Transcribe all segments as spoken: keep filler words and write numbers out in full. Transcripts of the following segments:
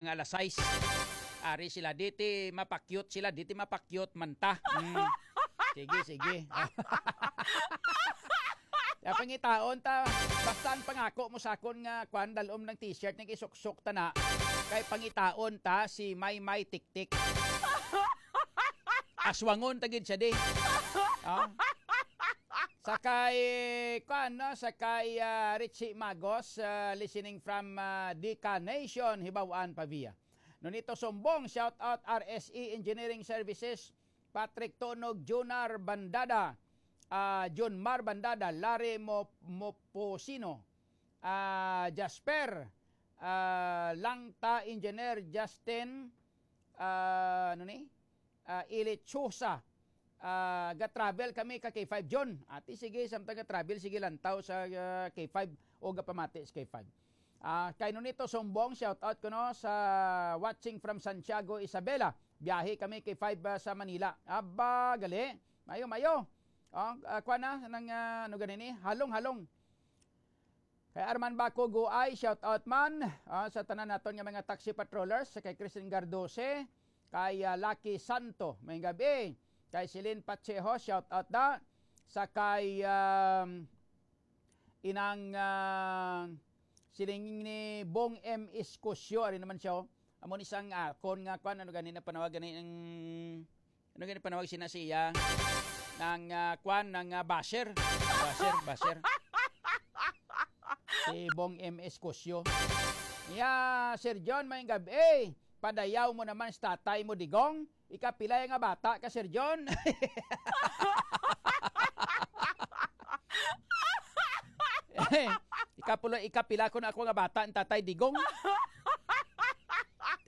nga alas sais. Ari sila, diti mapakyot sila, diti mapakyot man ta. Mm. Sige, sige. Ya, pangitaon ta, basta ang pangako mo sa akon nga, kwan, dalom ng t-shirt, nag-isuksok ta na. Kay pangitaon ta si May May Tiktik. Aswangon ta gid siya di. Ah? Sa kay, kwan, no? Sa kay, ah, Richie Magos, ah, listening from, ah, Dika Nation, Hibaw-an, Pavia. Nonito Sumbong, shout out R S E Engineering Services, Patrick Tonog, Junar Bandada, ah, Junmar Bandada, Larry Mo-, Moposino, ah, Jasper, ah, Langta Engineer Justin, ah, ano ni? Ah, Ilichosa. Ah, ga-travel kami ka K five John. Ati, sige, samtang ga-travel, sige, lantaw sa, ah, K five o gapamati sa K five. Ah, kay Nonito Sumbong, shout out ko, no, sa watching from Santiago, Isabela. Biyahe kami K five, ah, sa Manila. Aba, gali. Mayo, mayo. Oh, ah, kuha na, nang, ah, ano gani ni? Halong-halong. Kay Arman Baco Guay, shout out man, ah, sa tanan naton nga mga taxi patrollers, sa kay Christine Gardose, kay, ah, Lucky Santo, may gabi, kay Celine Pacheco, shout out da, sa kay, um, inang, ah, siling ni Bong M Escosio, ari naman siya, oh. Amo ni sang akon nga kwan, ano gani na panawag gani ang, ano gani panawag sina siya? Nang, ah, kwan, nang, ah, basher. Basher, basher. Si Bong M Escosio. Ya, Sir John, may gabi. Padayaw mo naman sa tatay mo, Digong. Ikapila nga bata ka, Sir John? Ikapulo, ikapila ko na ako nga bata ang tatay Digong.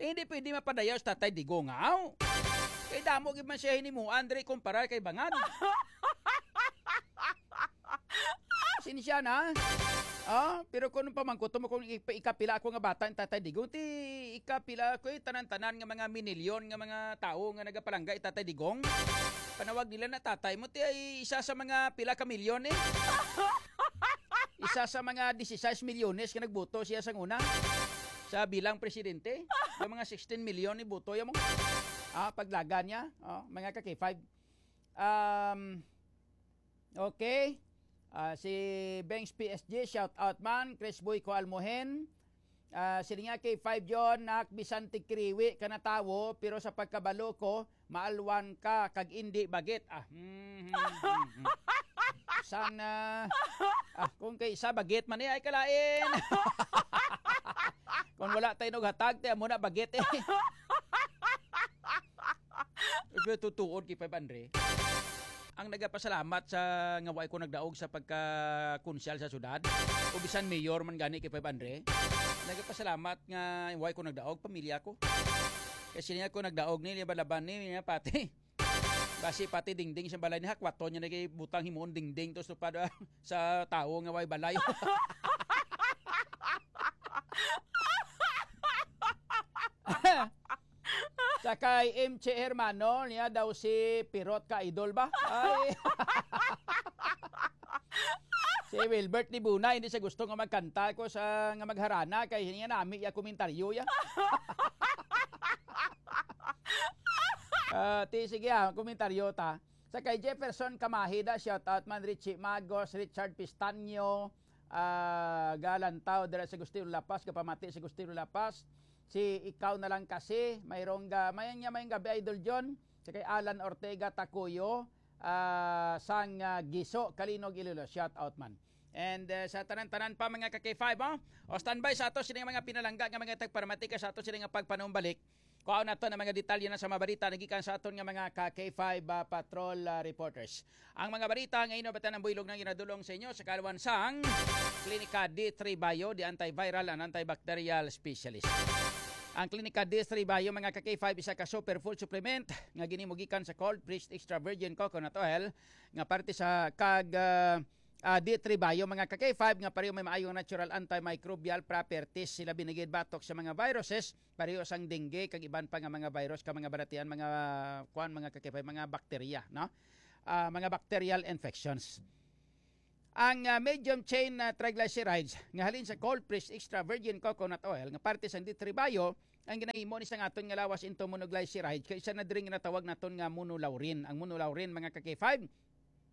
Eh, hindi pwede mapadayaw sa tatay Digong, aw. Kay damo gid man siya hinimuan diri kumparar kay bangad. Sinsya na. Ah, pero kung pamangkuto mo kung ipa-, ikapila ako nga bata ang tatay Digong, ti ikapila ko eh, tanan-tanan nga mga minilyon nga mga tawo nga nagapalangga i tatay Digong. Panawag nila na tatay mo, ti ay isa sa mga pila ka milyon eh. Isa sa mga dieciséis milyones nga nagboto siya sa una sa bilang presidente. Yung mga sixteen million ni boto yung mga, ah, paglaga niya, oh, mga ka K five. Um, okay. Ah, si Bangs P S G, shout out man. Chris Boy ko Almohen. Ah, sini nga kay five John, nak bisan tigkiriwi ka na tawo, pero sa pagkabalo ko, maalwan ka kag indi bagit. Ah, hmm, hmm, hmm, hmm. San, ah, ah, kung kay isa bagit man eh, ay kalain. Kung wala tayo naghatag, tayo muna bagit eh. Pero tutuod kay Five Andre. Ang nagapasalamat sa nga way ko nagdaog sa pagkakonsyal sa syudad, o bisan mayor man gani kay Five Andre, nagapasalamat nga way ko nagdaog, pamilya ko. Kasi niya ko nagdaog ni, laban-laban ni, niya pati. Basi pati dingding sa balay ni hakwaton niya nagibutang himuon dingding to sa, sa tawo nga way balay. Sa kay M J Hermano, niya daw si Pirot ka idol ba? Ay. Si Wilbert Dibuna, hindi siya gusto nga magkanta ko sa, nga magharana, kay niya nami iya komentaryo ya. Ah, ti, sige ah, komentaryo ta. Sa kay Jefferson Kamahida, shout out man, Richie Magos, Richard Pistaño, ah, galantaw dira sa Agustino La Paz, kapamati sa Agustino La Paz. Si Ikaw na Lang Kasi, mayroong ga-, may nga, may gabi, Idol John. Sa kay Alan Ortega Takuyo, ah, sang, ah, Giso, Kalinog, Iloilo. Shout out man. And, ah, sa tanan-tanan pa, mga ka K five, oh. O, standby sa ato, sila nga mga pinalangga nga mga tagparamatika sa ato, sila nga pagpanumbalik. Kuhaon nato ang mga detalye na sa mga balita nagikan sa aton nga mga ka K five, ah, patrol, ah, reporters. Ang mga balita nga ino batan ang buylog na ginadulong sa inyo sa kaluwan sang Klinika D three Bio, the antiviral and antibacterial specialist. Ang Klinika D three Bio, mga ka K five, isa ka superfood supplement nga ginimo gikan sa cold pressed extra virgin coconut oil nga parte sa kag, ah, ah, D three Bio, mga ka K five, nga pareho may maayong natural antimicrobial properties. Sila binigid batok sa mga viruses, pareho sang dengue kag iban pa nga mga virus ka mga balatian, mga kuan, mga ka K five, mga bakterya, no? Ah, mga bacterial infections. Ang, ah, medium chain na triglycerides nga halin sa cold pressed extra virgin coconut oil nga parte sang D three Bio Ang ginahimo ni sang aton nga lawas into monoglyceride kay isa na diri nga natawag naton nga monolaurin. Ang monolaurin, mga ka-K five,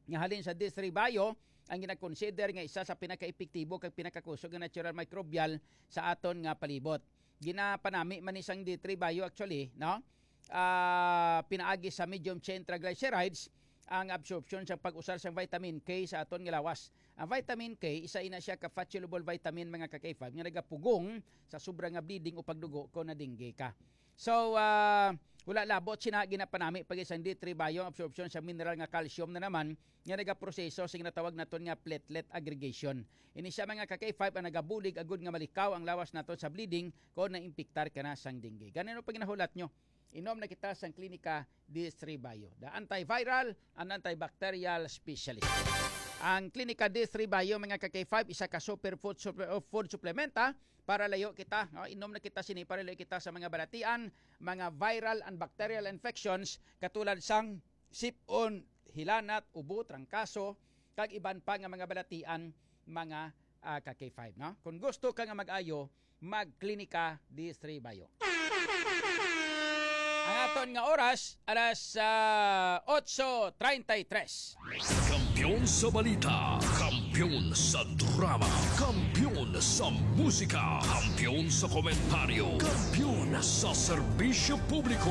nga halin sa D three Bio, ang ginakonsider nga isa sa pinakaepektibo kag pinakakusog nga natural microbial sa aton nga palibot. Ginapanami man ni sang D three Bio actually, no? Ah, pinaagi sa medium chain triglycerides ang absorption sa pag-usar sang vitamin K sa aton nga lawas. Ang vitamin K, isa ina siya ka fat-soluble vitamin, mga ka-K five, nga nagapugong sa sobra nga bleeding o pagdugo kon na-dengue ka. So, ah, wala labot sina ginapanami pag isang D three Bio ang absorption sa mineral nga calcium na naman nga nagaproseso sa ginatawag naton nga platelet aggregation. Ini siya, mga ka-K five, ang nagabulig agud nga malikaw ang lawas naton sa bleeding kon naimpiktar ka na sang dengue. Ganino pag ginahulat nyo? Inom na kita sang Klinika D three Bio, the antiviral and antibacterial specialist. Ang Klinika D three Bio, mga ka-K five, isa ka superfood suple-, o food supplement, ha, para layo kita, no? Inom na kita sini para layo kita sa mga balatian, mga viral and bacterial infections katulad sang sipon, hilanat, ubo, trangkaso, kag iban pa nga mga balatian, mga, ah, ka-K five, no? Kung gusto ka nga mag-ayo, magklinika D three Bio. Ang aton nga oras, alas, ah, otso treinta y tres. Kampiyon sa balita, kampiyon sa drama, kampiyon sa musika, kampiyon sa komentaryo, kampiyon sa serbisyo publiko.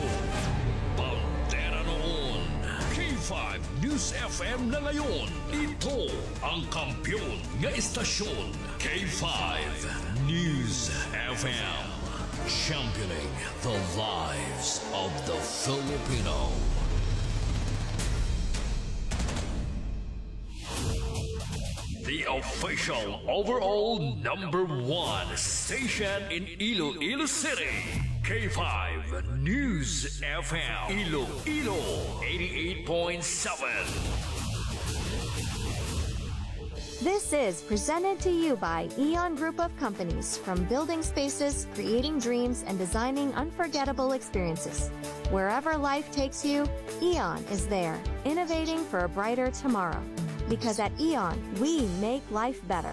Bandera noon, K five News F M na ngayon. Ito ang kampiyon nga estasyon, K five News F M. Championing the lives of the Filipino. The official overall number one station in Iloilo City, K five News F M, Iloilo eighty-eight point seven. This is presented to you by Eon Group of Companies. From building spaces, creating dreams, and designing unforgettable experiences. Wherever life takes you, Eon is there, innovating for a brighter tomorrow. Because at Eon, we make life better.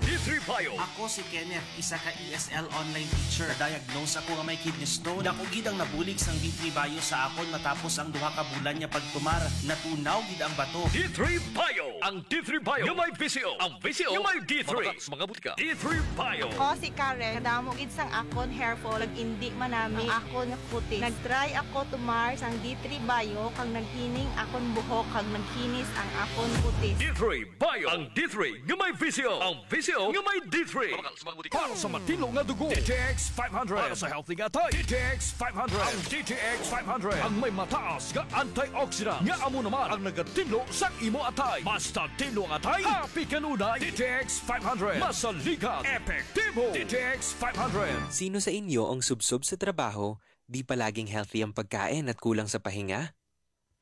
Ako si Kenneth, isa ka E S L online teacher. Na-diagnose ako nga may kidney stone. Dako gid ang nabulig sang D three Bio sa akon matapos ang duha ka bulan nga pagtumar. Natunaw gid ang bato. D three Bio, ang D three Bio nga may V C O, ang V C O nga may D three. Mga butika, D three Bio. Ako si Karen. Kadamo gid sang akon hair fall, nag-indi man nami ang akon kutis. Nag-try ako tumar sang D three Bio, kag naghining akon buhok, kag naghinis ang akon kutis. D three Bio, ang D three nga may V C O, ang V C O nga may D three. Mga butika. Para sa matinlo nga dugo, D T X five hundred. Para sa healthy nga atay, D T X five hundred. Ang D T X five hundred ang may mataas nga antioxidant nga amo naman ang nagatinlo sang imo atay. Basta tinlo ang atay, happy kanunay. D T X five hundred, masaligan, epektibo. D T X five hundred. Sino sa inyo ang subsob sa trabaho, di palaging healthy ang pagkain at kulang sa pahinga?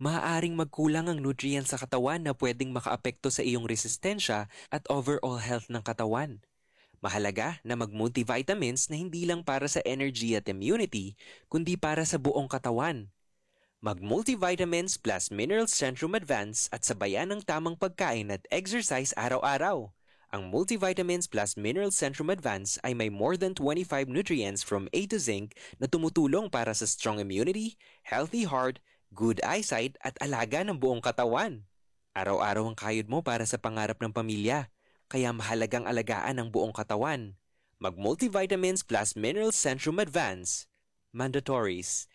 Maaaring magkulang ang nutrients sa katawan na pwedeng makaapekto sa iyong resistensya at overall health ng katawan. Mahalaga na mag-multivitamins na hindi lang para sa energy at immunity, kundi para sa buong katawan. Mag-multivitamins plus minerals Centrum Advance at sabayan ng tamang pagkain at exercise araw-araw. Ang multivitamins plus minerals Centrum Advance ay may more than twenty-five nutrients from A to zinc na tumutulong para sa strong immunity, healthy heart, good eyesight at alaga ng buong katawan. Araw-araw ang kayod mo para sa pangarap ng pamilya, kaya mahalagang alagaan ang buong katawan. Mag-multivitamins plus minerals Centrum Advance. Mandatories.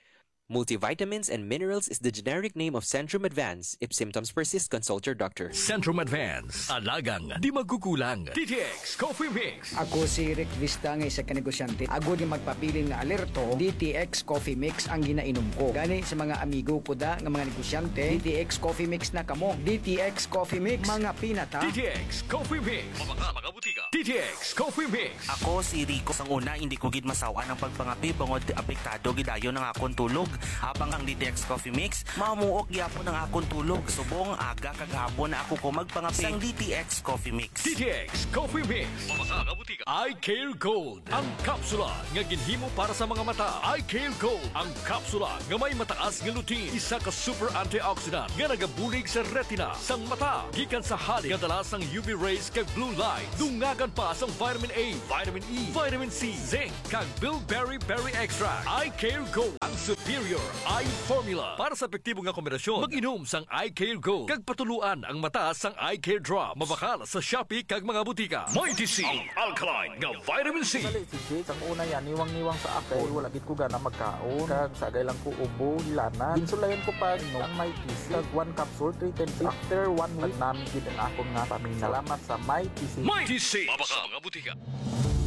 Multivitamins and minerals is the generic name of Centrum Advance. If symptoms persist, consult your doctor. Centrum Advance. Alagang di magkukulang. D T X Coffee Mix. Ako si Rick Vista nga isa ka negosyante. Agod nga magpabilin nga alerto, D T X Coffee Mix ang ginainom ko. Gani sa mga amigo ko da nga mga negosyante, D T X Coffee Mix na kamo. D T X Coffee Mix, mga pinata. D T X Coffee Mix. Mga, mga butika. D T X Coffee Mix. Ako si Rico. Sang una, hindi ko gid masaw-an ang pagpangape bangod apektado gid ayon ang akon tulog. Habang ang D T X Coffee Mix, mamuok gyapon ang akon tulog. Subong aga kag hapon na ako ko magpangape sang D T X Coffee Mix. D T X Coffee Mix. Mga, mga butika. Eye Care Gold. Ang kapsula nga ginhimo para sa mga mata. Eye Care Gold. Ang kapsula nga may mataas nga lutein, isa ka super antioxidant nga nagabulig sa retina sang mata gikan sa halin nga dala sang U V rays kag blue light. Dungan Kan pa sang vitamin A, vitamin E, vitamin C, zinc, kag bilberry berry extract. Eye Care Gold, ang superior eye formula. Para sa epektibo nga kombinasyon, mag-inom sang Eye Care Gold, kag patuluan ang mata sang Eye Care Drop. Mabakal sa Shopee kag mga butika. Mighty C, ang alkaline nga vitamin C. Dali, si Jake, ang una yan, niwang-niwang sa ako. Kay wala gid ko gana magkaon. Kag sagay lang ko ubo, hilanat. Ginsulayan ko pa, no, ang Mighty C. Kag one capsule, three times. After one week, nagnami gid ang akon nga pamina. Salamat sa Mighty C. Mighty C. Mabakal sa mga butika.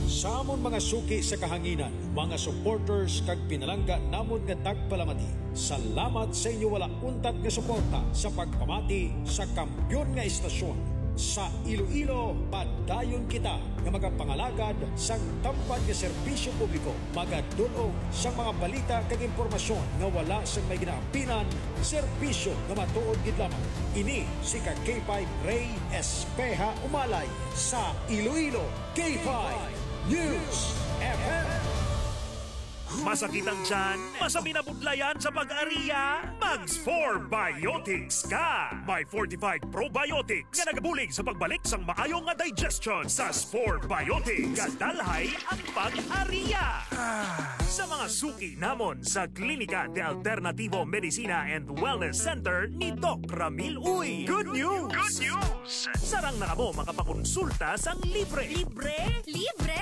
Sa amon mga suki sa kahanginan, mga supporters kag pinalangga namon nga tagpalamati, salamat sa inyo wala untat nga suporta sa pagpamati sa kampiyon nga estasyon. Sa Iloilo, padayon kita nga magapangalagad sang tampad nga serbisyo publiko, magadul-ong sang mga balita kag impormasyon nga wala sang may ginaampinan, serbisyo nga matuod gid lamang. Ini si ka K five Ray Espeha Umalay sa Iloilo, K five News F M. Masakit ang tiyan? Masabi na budlayan sa pag-ariya? Mag Spore Biotics ka! May fortified probiotics nga nagabulig sa pagbalik sang maayo nga digestion sa Spore Biotics. Gadalhay ang pag-ariya! Ah, sa mga suki namon sa Klinika de Alternativo Medicina and Wellness Center ni Doc Ramil Uy. Good news! Good news! Sarang na kamo makapakonsulta sang libre. Libre? Libre!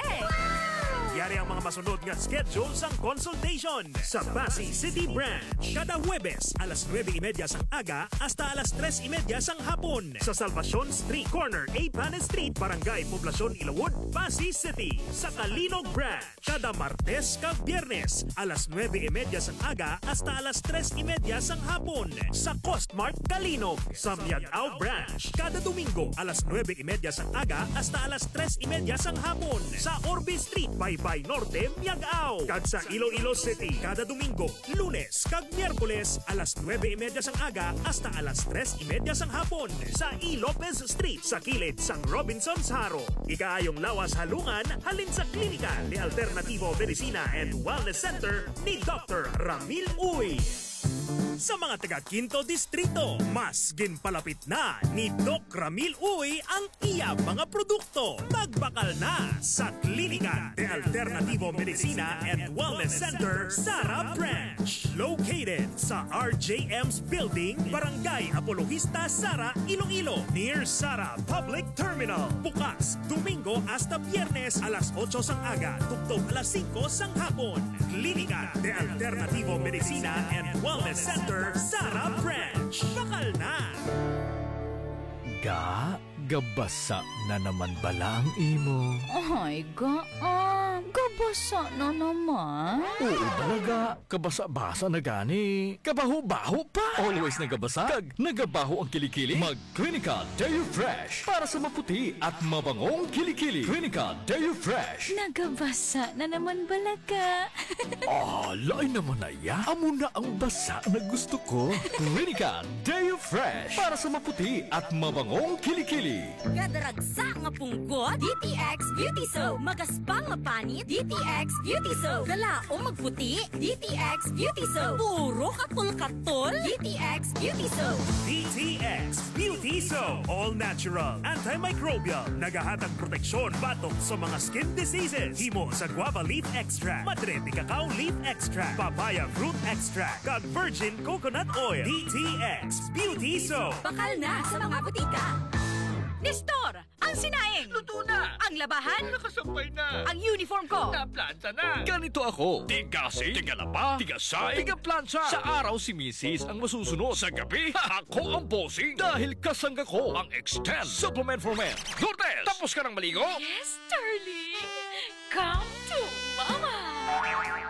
Yari ang mga masunod nga schedule sang consultation. Sa Passi City Branch, kada Huwebes, alas nuebe y media sang aga hasta alas tres y media sang hapon. Sa Salvacion Street, corner A Panes Street, Barangay Poblacion, Ilawod, Passi City. Sa Calinog Branch, kada Martes kag Biyernes, alas nuebe y media sang aga hasta alas tres y media sang hapon, sa Costmart Calinog. Sa Miag-ao Branch, kada Domingo, alas nuebe y media sang aga hasta alas tres y media sang hapon, sa Orbe Street, Baybay Norte, Miag-ao. Kag sa Iloilo City, kada Domingo, Lunes, kag Miyerkules, alas nuebe y media sang aga hasta alas tres y media sang hapon, sa E. Lopez Street, sa kilid sang Robinsons Jaro. Ikaayong lawas halungan halin sa Klinika de Alternativo Medicina and Wellness Center ni Doctor Ramil Uy. Sa mga taga Quinto Distrito, mas ginpalapit na ni Doc Ramil Uy ang iya mga produkto. Magbakal na sa Klinika de Alternativo Medicina and Wellness Center, Sara Branch. Located sa R J M's Building, Barangay Apologista, Sara, Iloilo, near Sara Public Terminal. Bukas Domingo hasta Biyernes, alas otso sang aga tubtob alas singko sang hapon. Klinika de Alternativo Medicina and Wellness Center, Sara Branch. Bakal na! Ga, gabasa na naman bala ang imo? Ay, ga, ah, gabasa na naman. Oo bala, ga. Kabasa-basa na gani. Kabaho-baho pa. Always nagabasa kag nagabaho ang kilikili. Mag Clinica Deo Fresh para sa maputi at mabangong kilikili. Clinica Deo Fresh. Nagabasa na naman bala ka. Ah, lain naman na ya. Amo na ang basa na gusto ko. Clinica Deo Fresh para sa maputi at mabangong kilikili. Kadaragsa nga punggot, D T X Beauty Soap. Magaspang nga panit, D T X Beauty Soap. Kalaom magputi, D T X Beauty Soap. Puro katol-katol, D T X Beauty Soap. D T X Beauty Soap. All natural, antimicrobial. Nagahatag proteksyon batok sa mga skin diseases. Himo sa guava leaf extract, madre de cacao leaf extract, papaya fruit extract, kag virgin coconut oil. D T X Beauty Soap. Bakal na sa mga butika. Nestor, ang sinaing. Luto na. Ang labahan. Nakasampay na. Ang uniform ko. Naplanta na. Ganito ako. Tigasing, tigalaba, tigasay, tigaplansa. Sa araw si misis ang masusunod. Sa gabi, ako ang bossing. Dahil kasangga ko ang Extend Supplement for Men. Lourdes, tapos ka nang maligo? Yes, darling. Come to Mama.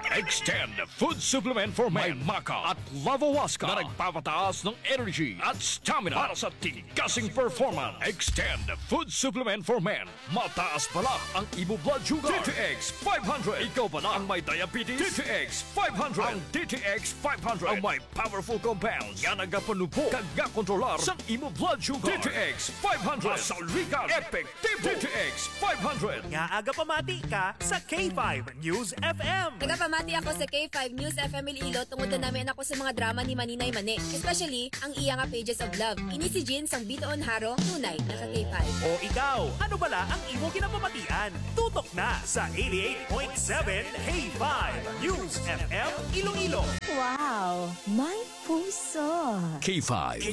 Extend Food Supplement for Men. May maca at lavawaska na nagpapataas ng energy at stamina para sa tigasing performance. Extend Food Supplement for Men. Mataas bala ang imo blood sugar. D T X five hundred. Ikaw bala ang may diabetes? D T X five hundred. Ang D T X five hundred ang may powerful compounds nga nagapanubo kag gakontrolar sang imo blood sugar. D T X five hundred. Masaligan, epektibo. D T X five hundred. Ngaa gapamati ka sa K five News F M? Nagapamati Pati ako sa K five News F M Iloilo tungod na nami ako sa mga drama ni Maninay Mani, especially ang iya nga Pages of Love. Ini si Jean sang Bitoon Haro, tunay na ka K five. O ikaw, ano bala ang imo ginapamatian? Tutok na sa eighty-eight point seven K five News F M Iloilo. Wow! My puso! K five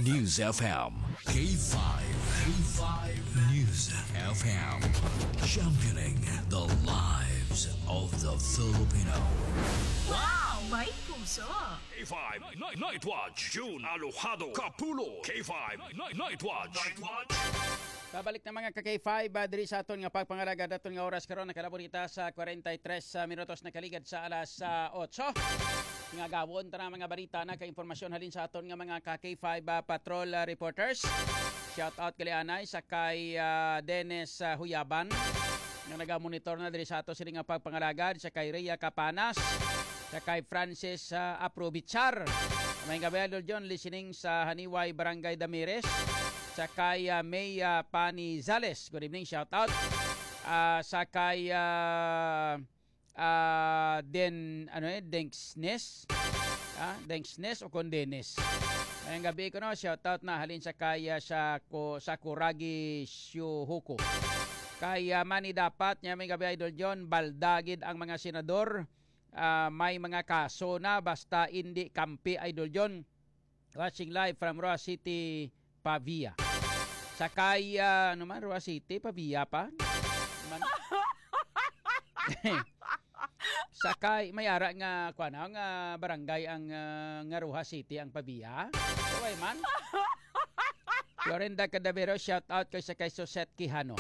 News F M. K five News F M. Championing the lives of the Filipino. Wow! My puso! K five Night, Night Watch, June Alojado Kapulo. K five Night, Night Watch. Night Watch. Pabalik na mga ka K five, ah, diri sa aton nga pagpangalaga daton nga oras karon, nakalabot kita sa forty-three minutos nakaligad sa alas ah, otso. Nga gawon ta na mga balita na kay impormasyon halin sa aton nga mga ka K five ah, patrol ah, reporters. Shout out kali anay sa kay ah, Dennis ah, Huyaban nga nagamonitor na diri sa ato sini nga pagpangalaga, sa kay Rhea Capanas, sa kay Francis ah, Aprobichar. May gabi, Idol John, listening sa Haniway, Barangay Damires, sa kay ah, May ah, Panizales. Good evening, shout out. Ah, sa kay ah, ah, Den, ano eh, Denksnes? Ah, Denksnes o kon Dennis? Ngayong gabi ko, no, shout out na halin sa kay ah, sa ko sa Kuragi Syuhuko. Kay ah, Manny Dapat, niya may gabi, Idol John, balda gid ang mga senador. Ah, may mga kaso na basta indi kampi, Idol John. Watching live from Roa City, Pavia. Sa kay ah, ano man, Roa City, Pavia pa? Man. Sa kay, may ara nga, kuwan, ah, nga barangay ang ah, nga Roa City ang Pavia. Kaway man. Florinda Cadavero, shout out kay sa kay Suset Quijano.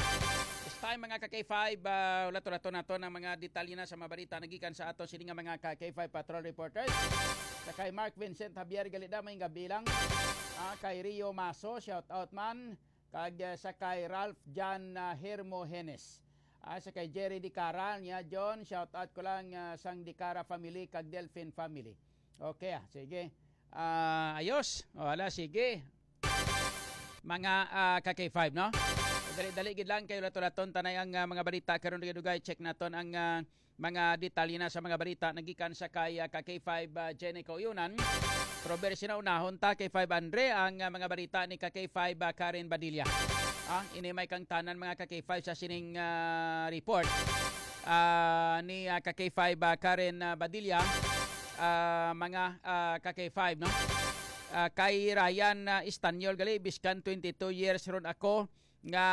This time, mga ka K five, ah, ulato-lato nato ng mga detalye na sa mga balita nagikan sa ato sini nga mga ka K five Patrol Reporters. Sa kay Mark Vincent Javier Galida, may gabi lang. Ah, kay Rio Maso, shout out man. Kag ah, sa kay Ralph John ah, Hermogenes. Ah, sa kay Jerry Dicara, niya John, shout out ko lang ah, sang Dicara family kag Delfin family. Okay, ah, sige. Ah, ayos. O, ala, sige. Mga ah, ka K five, no? Dali-dali gid lang kayo, ulato-laton tanay ang ah, mga balita karon, dugay-dugay, check naton ang ah, mga detalye na sa mga balita nagikan sa kay ah, ka K five ah, Jenny Kauyunan. Pero very sinunahon ta, K five Andre, ang ah, mga balita ni ka K five ah, Karen Badilla. Ah, ini may kangtanan, mga ka K five, sa sining ah, report ah, ni ah, ka K five ah, Karen ah, Badilla. Ah, mga ah, ka K five, no? Ah, kay Ryan ah, Estanyol gali, biskan twenty-two years ron ako nga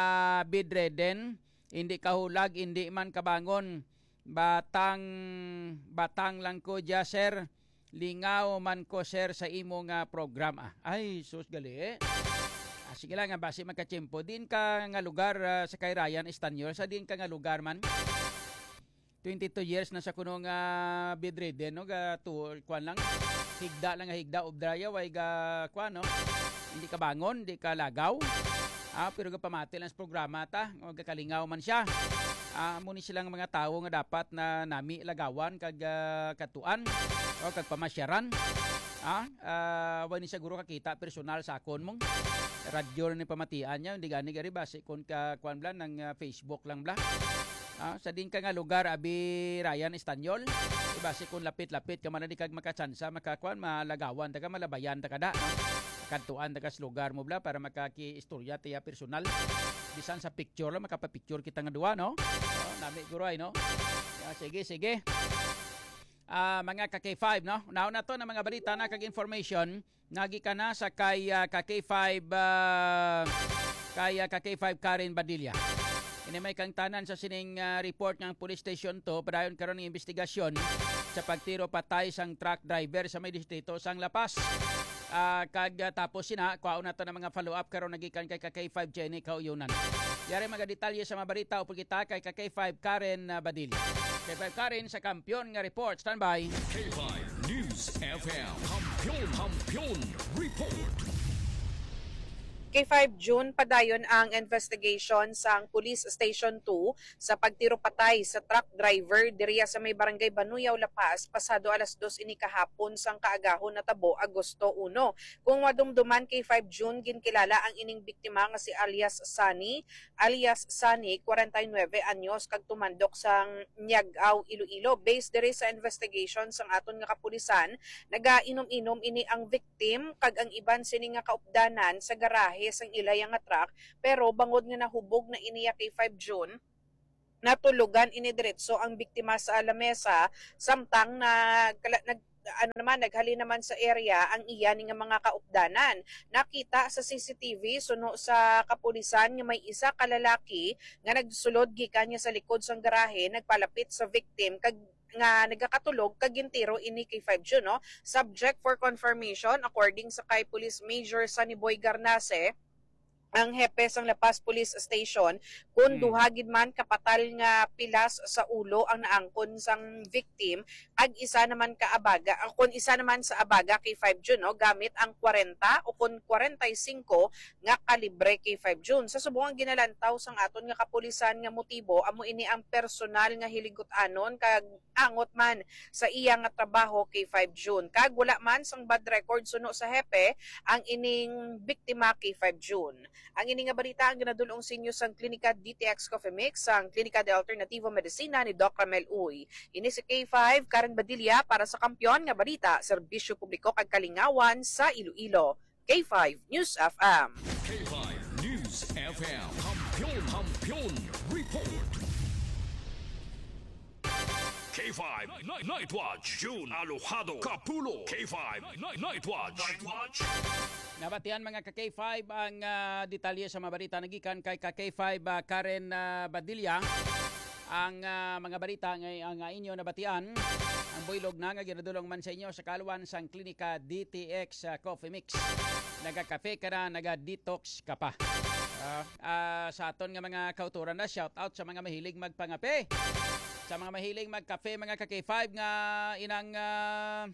bedridden, hindi kahulag, hindi man kabangon. Batang, batang lang ko dya, sir. Lingaw man ko, sir, sa imo nga programa. Ay, sus, gali. Ah, sige lang, nga basi magkatiyempo. Diin ka nga lugar ah, sa kay Ryan Estanyol? Sa diin ka nga lugar man? Twenty-two years na sa kuno nga bedridden, no? Ga, tu, kuwan lang. Higda lang nga higda, obra ya, way ga, kuwan, no? Hindi ka bangon, hindi ka lagaw. Ah, pero gapamati lang sa programa ta, o gakalingaw man siya. Ah, amo ni silang mga tawo nga dapat na nami lagawan kag ah, katuan o kag pamasyaran. Ah, ah, wa ni siguro kakita personal sa akon mong radyo ni pamatian niya, hindi gani gari basi kon ka kuan bla ng ah, Facebook lang bla. Ah, sa din ka nga lugar, abi Ryan Estanyol, di basi kon lapit-lapit ka man di kag makatsansa, makakuan, malagawan ta ka, malabayan ta ka da, no? Kadtuan ta ka sa lugar mo bla para makakiistorya tiya personal. Bisan sa picture lang, makapapicture kita nga duwa, no? Oh, nami guroy, no? Ah, sige, sige. Ah, mga ka K five, no? Naon na to ng mga balita na kag information. Nagikan na sa kay ah, ka K five, ah, kay ah, ka K five Karen Badilla. Ini may kangtanan sa sining ah, report ng Police Station two, padayon karon ang investigasyon sa pagtiro patay sang truck driver sa may distrito sang La Paz. Ah, kag ah, tapos sina, kuhaon nato ng mga follow-up karon nagikan kay ka K five Jenny Kauyunan. Yari mga detalye sa mga balita upod kita kay ka K five Karen ah, Badilla. K five Karen sa Kampiyon nga Report. Standby. K five News F M. Kampiyon, Kampiyon Report. K five June, padayon ang investigation sang Police Station two sa pagtiro patay sa truck driver diriya sa may Barangay Banuyaw, La Paz, pasado alas dos ini kahapon sang kaagahon natabo, Agosto uno. Kung madumduman, K five June, ginkilala ang ining biktima nga si alias Sunny, alias Sunny, kwarenta y nuebe anyos, kag tumandok sang Niagaw, Iloilo. Based diri sa investigation sang aton nga kapulisan, nagainom-inom ini ang victim kag ang iban sini nga kaupdanan sa garahe sang ilaya nga truck, pero bangod nga nahubog na iniya kay five June, natulugan ini diretso ang biktima sa lamesa, samtang nagkala-, nag-, ano naman, naghalin naman sa area ang iya ni nga mga kaupdanan. Nakita sa C C T V suno sa kapulisan nga may isa ka lalaki nga nagsulod gikan niya sa likod sang garahe, nagpalapit sa victim kag nga nagakatulog kag gintiro ini kay five June, no? Subject for confirmation, according sa kay Police Major Sunny Boy Garnase, ang hepe sang La Paz Police Station, kun Hmm. duha gid man kapatal nga pilas sa ulo ang naangkon sang victim, kag isa naman ka abaga, ah, kun isa naman sa abaga kay five June, no, gamit ang kwarenta o kun kwarenta y singko nga kalibre kay five June. Sa subong ang ginalantaw sang aton nga kapulisan nga motibo, amo ini ang personal nga hiligot-anon kag angot man sa iya nga trabaho kay five June. Kag wala man sang bad record suno sa hepe ang ining biktima kay five June. Ang ini nga balita ang ginadul-ong sa inyo sang Klinika D T X Coffee Mix, sang Klinika de Alternativo Medicina ni Doc Ramel Uy. Ini si K five, Karen Badilla para sa Kampiyon nga Balita, Serbisyo Publiko kag Kalingawan sa Iloilo. K five News F M. K five News F M. Kampiyon, Kampiyon Report. K five Night, Night Watch, June Alojado Kapulo. K five Night, Night Watch. Night Watch. Nabatian, mga ka K five, ang, ah, detalye sa mga balita nagikan kay ka K five, ah, Karen, ah, Badilla. Ang, ah, mga balita nga, nga inyo nabatian, ang buylog na nga ginadulong man sa inyo sa kaluan sang Klinika D T X, ah, Coffee Mix. Nagakafe ka na, naga-detox ka pa. Ah, ah, sa aton nga mga kauturan na, shout out sa mga mahilig magpangape. Sa mga mahilig magkape, mga ka K five, nga inang, ah,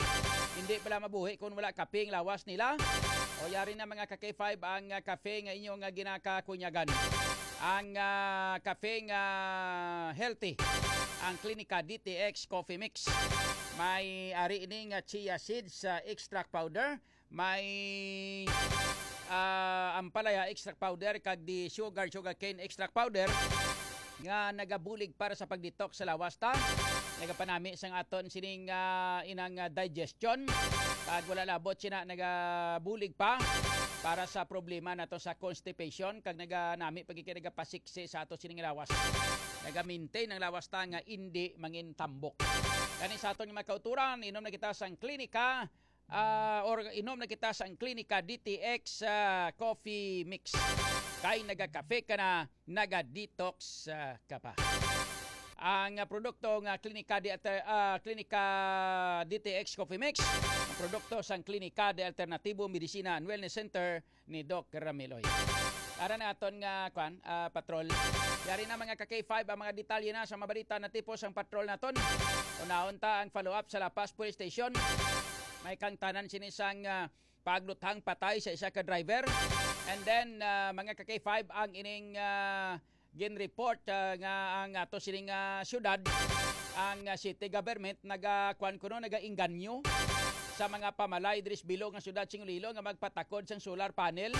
hindi pala mabuhi kung wala kape ang lawas nila. O yari na, mga ka K five, ang, ah, kape nga inyo nga ginakakunyagan. Ang, ah, kape nga healthy, ang Klinika D T X Coffee Mix. May ari ini nga chia seeds, ah, extract powder, may, ah, ampalaya extract powder, kag di sugar, sugarcane extract powder nga nagabulig para sa pag-detox sa lawas ta. Nagapanami sang aton sining, ah, inang, ah, digestion. Kag wala labot sina nagabulig pa para sa problema nato sa constipation, kag naganami pag nagapasiksi sa ato sining lawas. Naga-maintain ang lawas ta nga indi mangin tambok. Kani sa aton nga mga kauturan, inom na kita sang Klinika, ah, or inom na kita sang Klinika D T X, ah, Coffee Mix. Kay nagakafe ka na, naga-detox, ah, ka pa. Ang, ah, produkto nga Klinika de Alter-, ah, Klinika D T X Coffee Mix, ang produkto sang Klinika de Alternatibo Medicina and Wellness Center ni Doc Ramiloy. Ara na aton nga, kwan, ah, patrol. Yari na, mga ka K five, ang mga detalye na sa mga balita na tipos ang patrol naton. Unahon ta ang follow-up sa La Paz Police Station. May kangtanan sini sang, ah, pagluthang patay sa isa ka driver. And then, ah, mga ka K five, ang ining, ah, gin-report, ah, nga ang ato sining, ah, syudad, ang, ah, city government naga-, kwan kuno, nagaengganyo sa mga pamalay diri sa bilog nga syudad sing Iloilo nga magpatakod sang solar panel.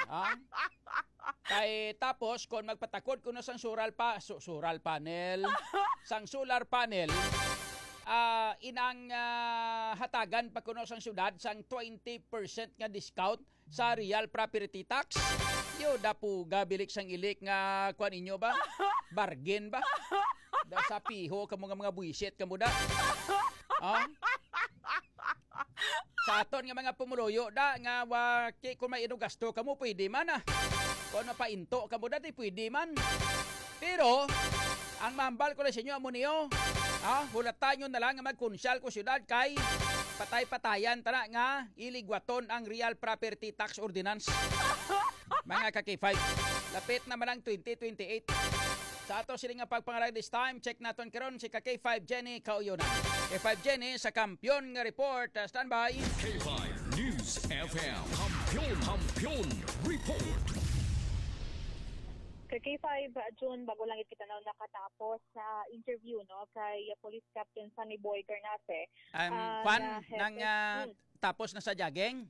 Ah? Kay tapos, kung magpatakod kuno sang solar pa-, so-, solar panel, sang solar panel, ah, inang, ah, hatagan pa kuno sang syudad sang twenty percent nga discount sa real property tax. Yo, dapuga, bilik sang ilik nga, kuan ninyo ba? Bargain ba? Da sa piho kamo nga mga buwisit kamo da. Ah? Sa aton nga mga pumuluyo da nga wa-, ki-, kung may inugasto kamo, pwede man, ah. Kung mapainto kamo da, di pwede man. Pero, ang mahambal ko lang sa inyo, amo niyo, ah, hulata nyo na lang nga magkunsyal ko syudad kay patay-patayan tana nga iligwaton ang Real Property Tax Ordinance. Mga ka K five, lapit na man ang twenty twenty-eight. Sa ato sini nga pagpangalag this time, check naton karon si ka K five Jenny Kauyonan. K five Jenny sa Kampiyon nga Report. Ah, standby. K five News F M Kampiyon, Kampiyon Report. Kay K five, uh, June, bago lang kita na nakatapos sa interview, no, kay, uh, Police Captain Sunny Boy Garnafe. Um, Ah, kwan, na hepe. nang ah, Hmm. Tapos na sa jogging?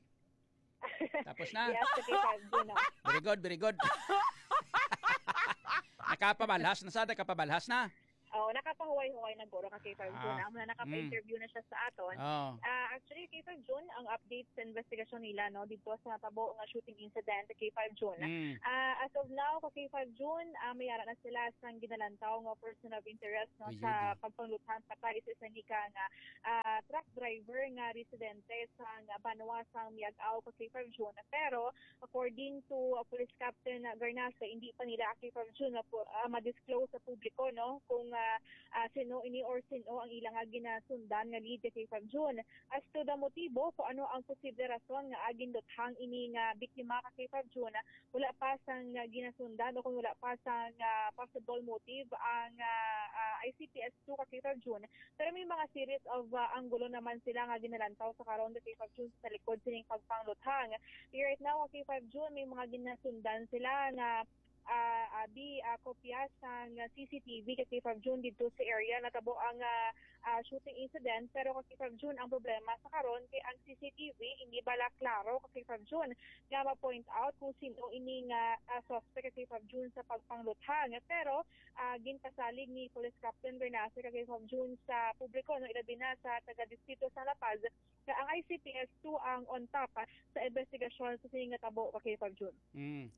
Tapos na? Yes, sa K five, June, no. Very good, very good. Nakapabalhas na sa, nakapabalhas na. Oh, nakapahuway-huway na guro ka K five, June. Ah, Amo na, naka-interview na siya sa aton. Oh. Ah, actually, K five, June, ang update sa investigasyon nila, no, dito sa natabo nga shooting incident, K five, June. Mm. Ah, as of now, ka K five, June, ah, may ara na sila sang ginalantaw nga person of interest, no, Ayun, sa ah. pagpangluthang patay sa isa ni ka nga, ah, truck driver nga residente sa nga banwa sang Miag-ao, ka K five, June. Pero according to, uh, Police Captain, uh, Garnafe, hindi pa nila, ka K five, June, na pu- ah, ma-disclose sa publiko, no, kung, ah, ah, sino ini or sino ang ilang nga ginasundan nga lead, ka K five, June. As to the motibo, kung ano ang posible rason nga, ah, ginluthang ini nga biktima, ka K five, June, wala pa sang, ah, ginasundan o kung wala pa sang, ah, possible motive ang, ah, ah, I C P S two, ka K five, June. Pero may mga series of, ah, anggulo naman sila nga ginalantaw sa karon, ka K five, June, sa likod sining pagpangluthang. Right now, ka K five, June, may mga ginasundan sila nga, ah, abi, ah, kopya sang C C T V, ka K five, June, dito sa area natabo ang, ah, ah, shooting incident. Pero, ka K five, June, ang problema sa karon kay ang C C T V hindi bala klaro, ka K five, June, nga ma-point out kung sino ini nga, ah, suspect, ka K five, June, sa pagpangluthang. Pero, ah, ginpasalig ni Police Captain Garnafe, ka K five, June, sa publiko, no, ilabi na sa taga-distrito sa La Paz, nga ang I C P S two ang on top, ah, sa investigasyon sa sining natabo, ka K five, June. Mm.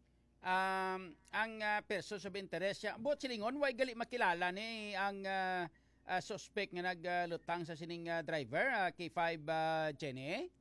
Um, ang ah, persons of interest siya. Buot silingon, way gali makilala ni ang ah, ah, suspect nga nagluthang sa sining ah, driver, ah, K five, ah, Jenny?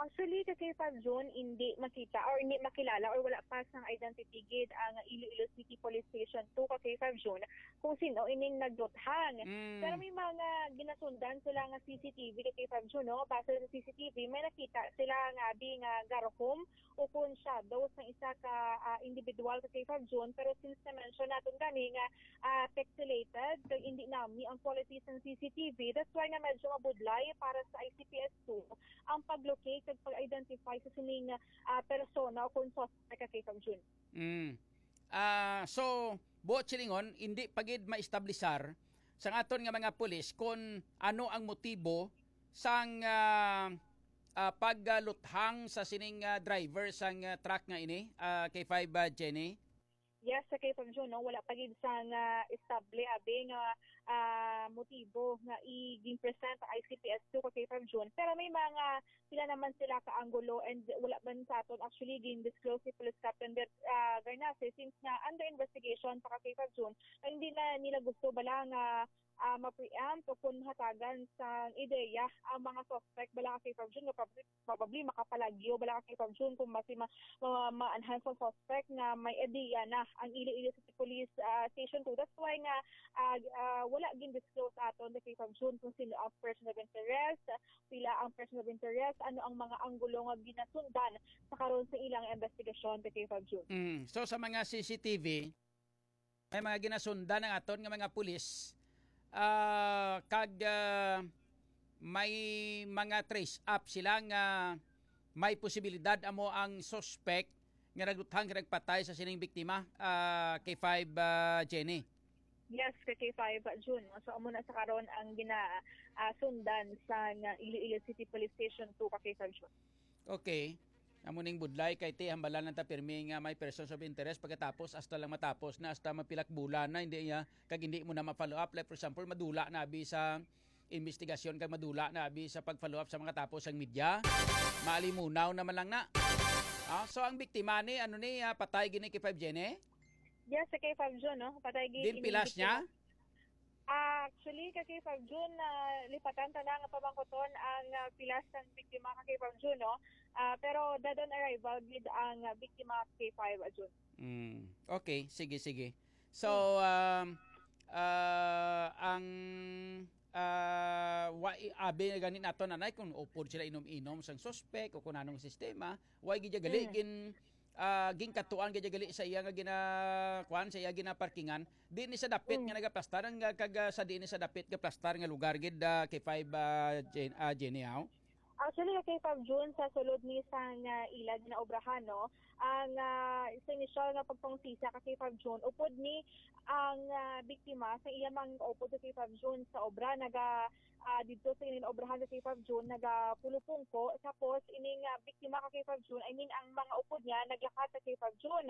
Actually, ka K five, June, hindi makita or hindi makilala or wala pa sang identity gid ang Iloilo City Police Station two, ka K five, June, kung sino ining nagluthang. Mm. Pero may mga ginasundan sila nga C C T V, ka K five, June, no? Base sa C C T V, may nakita sila nga abi nga garhom o kun shadow sang isa ka, ah, individual, ka K five, June. Pero since na-mention naton gani nga, ah, pixelated, kag hindi nami ang quality sang C C T V, that's why nga medyo mabudlay para sa I C P S two ang pag-locate kag pag-identify sa sining, ah, persona o kung suspect, ka K five, June. Mm. Ah, so, buot silingon, hindi pa gid maestablisar sang aton nga mga pulis kung ano ang motibo sang ah, ah, pagluthang sa sining ah, driver sang ah, truck nga ini, ah, K five, ah, Jenny? Yes, sa K five, June, no, wala pa gid sang, ah, estable abi nga, ah, motibo nga i-, gin-present ang I C P S two, ka K five, June. Pero may mga pila naman sila ka anggulo, and wala man sa aton actually gin-disclose si Police Captain Ber-, ah, Garnafe, since nga under investigation pa, ka K five, June, nga hindi na nila gusto bala nga, ah, ma-preempt o kung hatagan sa ideya ang mga suspect bala, ka K five, June, nga prob- probably makapalagyo bala, ka K five, June, kung basi ma-, ma-, ma-enhance ang suspect nga may ideya na ang Iloilo City Police, ah, Station two. That's why nga, ah, ah, wala gin-disclose aton, ka K five, June, kung sino ang person of interest, pila ang person of interest, ano ang mga anggulo nga ginasundan sa karon sa ilang investigasyon, ka K five, June. Mm. So, sa mga C C T V, may mga ginasundan ang aton nga mga pulis, ah, kag ah, may mga trace up sila nga may posibilidad amo ang suspect nga nagluthang kag nagpatay sa sining biktima, ah, K five, ah, Jenny. Yes, ka K five, June. So, amo na sa karon ang gina, ah, sundan sa nga Iloilo City Police Station two, ka K five, June. Okay. Amo ning budlay kay ti hambalan lang ta pirmi nga may persons of interest pagkatapos hasta lang matapos na, hasta mapilak bulan na hindi niya kag hindi mo na ma-follow up. Like for example, madula na abi sa investigasyon kag madula na abi sa pag-follow up sa mga tapo sang media. Maalimunaw naman lang na. Ah, so ang biktima ni ano ni ah, patay gini kay five Jenny? Yes, sa K five June, no? Patay gi Din ini pilas biktima. niya? Ah, actually, ka K five June, ah, lipatan ta na nga pamangkuton ang ah, pilas sang biktima, ka K five June, no? Ah, pero dead on arrival gid ang ah, biktima, ka K five June. Mm. Okay, sige, sige. So, um, ah, ang ah, wa, i- abi na gani nato, nanay, kung upod sila inom-inom sang suspek o kung anong sistema, wa gid gali Mm. gin ah, ginkatuan gid gali sa iya nga gina kuan, sa iya ginaparkingan. Di ni sa dapit Mm. nga nagaplastar ang ah, kag ah, sa di ni sa dapit nga plastar nga lugar gid, ah, kay five, ah, Jen, ah, Jenny, haw? Actually, ka K five June, sa sulod ni sang, ah, ila ginaobrahan, no, ang, ah, sa inisyal nga pagpangusisa, ka K five June, upod ni ang, ah, biktima sa iya mga upod, ka K five June, sa obra, naga, ah, didto sa ining obrahan, ka K five June, nagapulupungko. Tapos ining, ah, biktima, ka K five June, I mean, ang mga upod niya naglakat, ka K five June.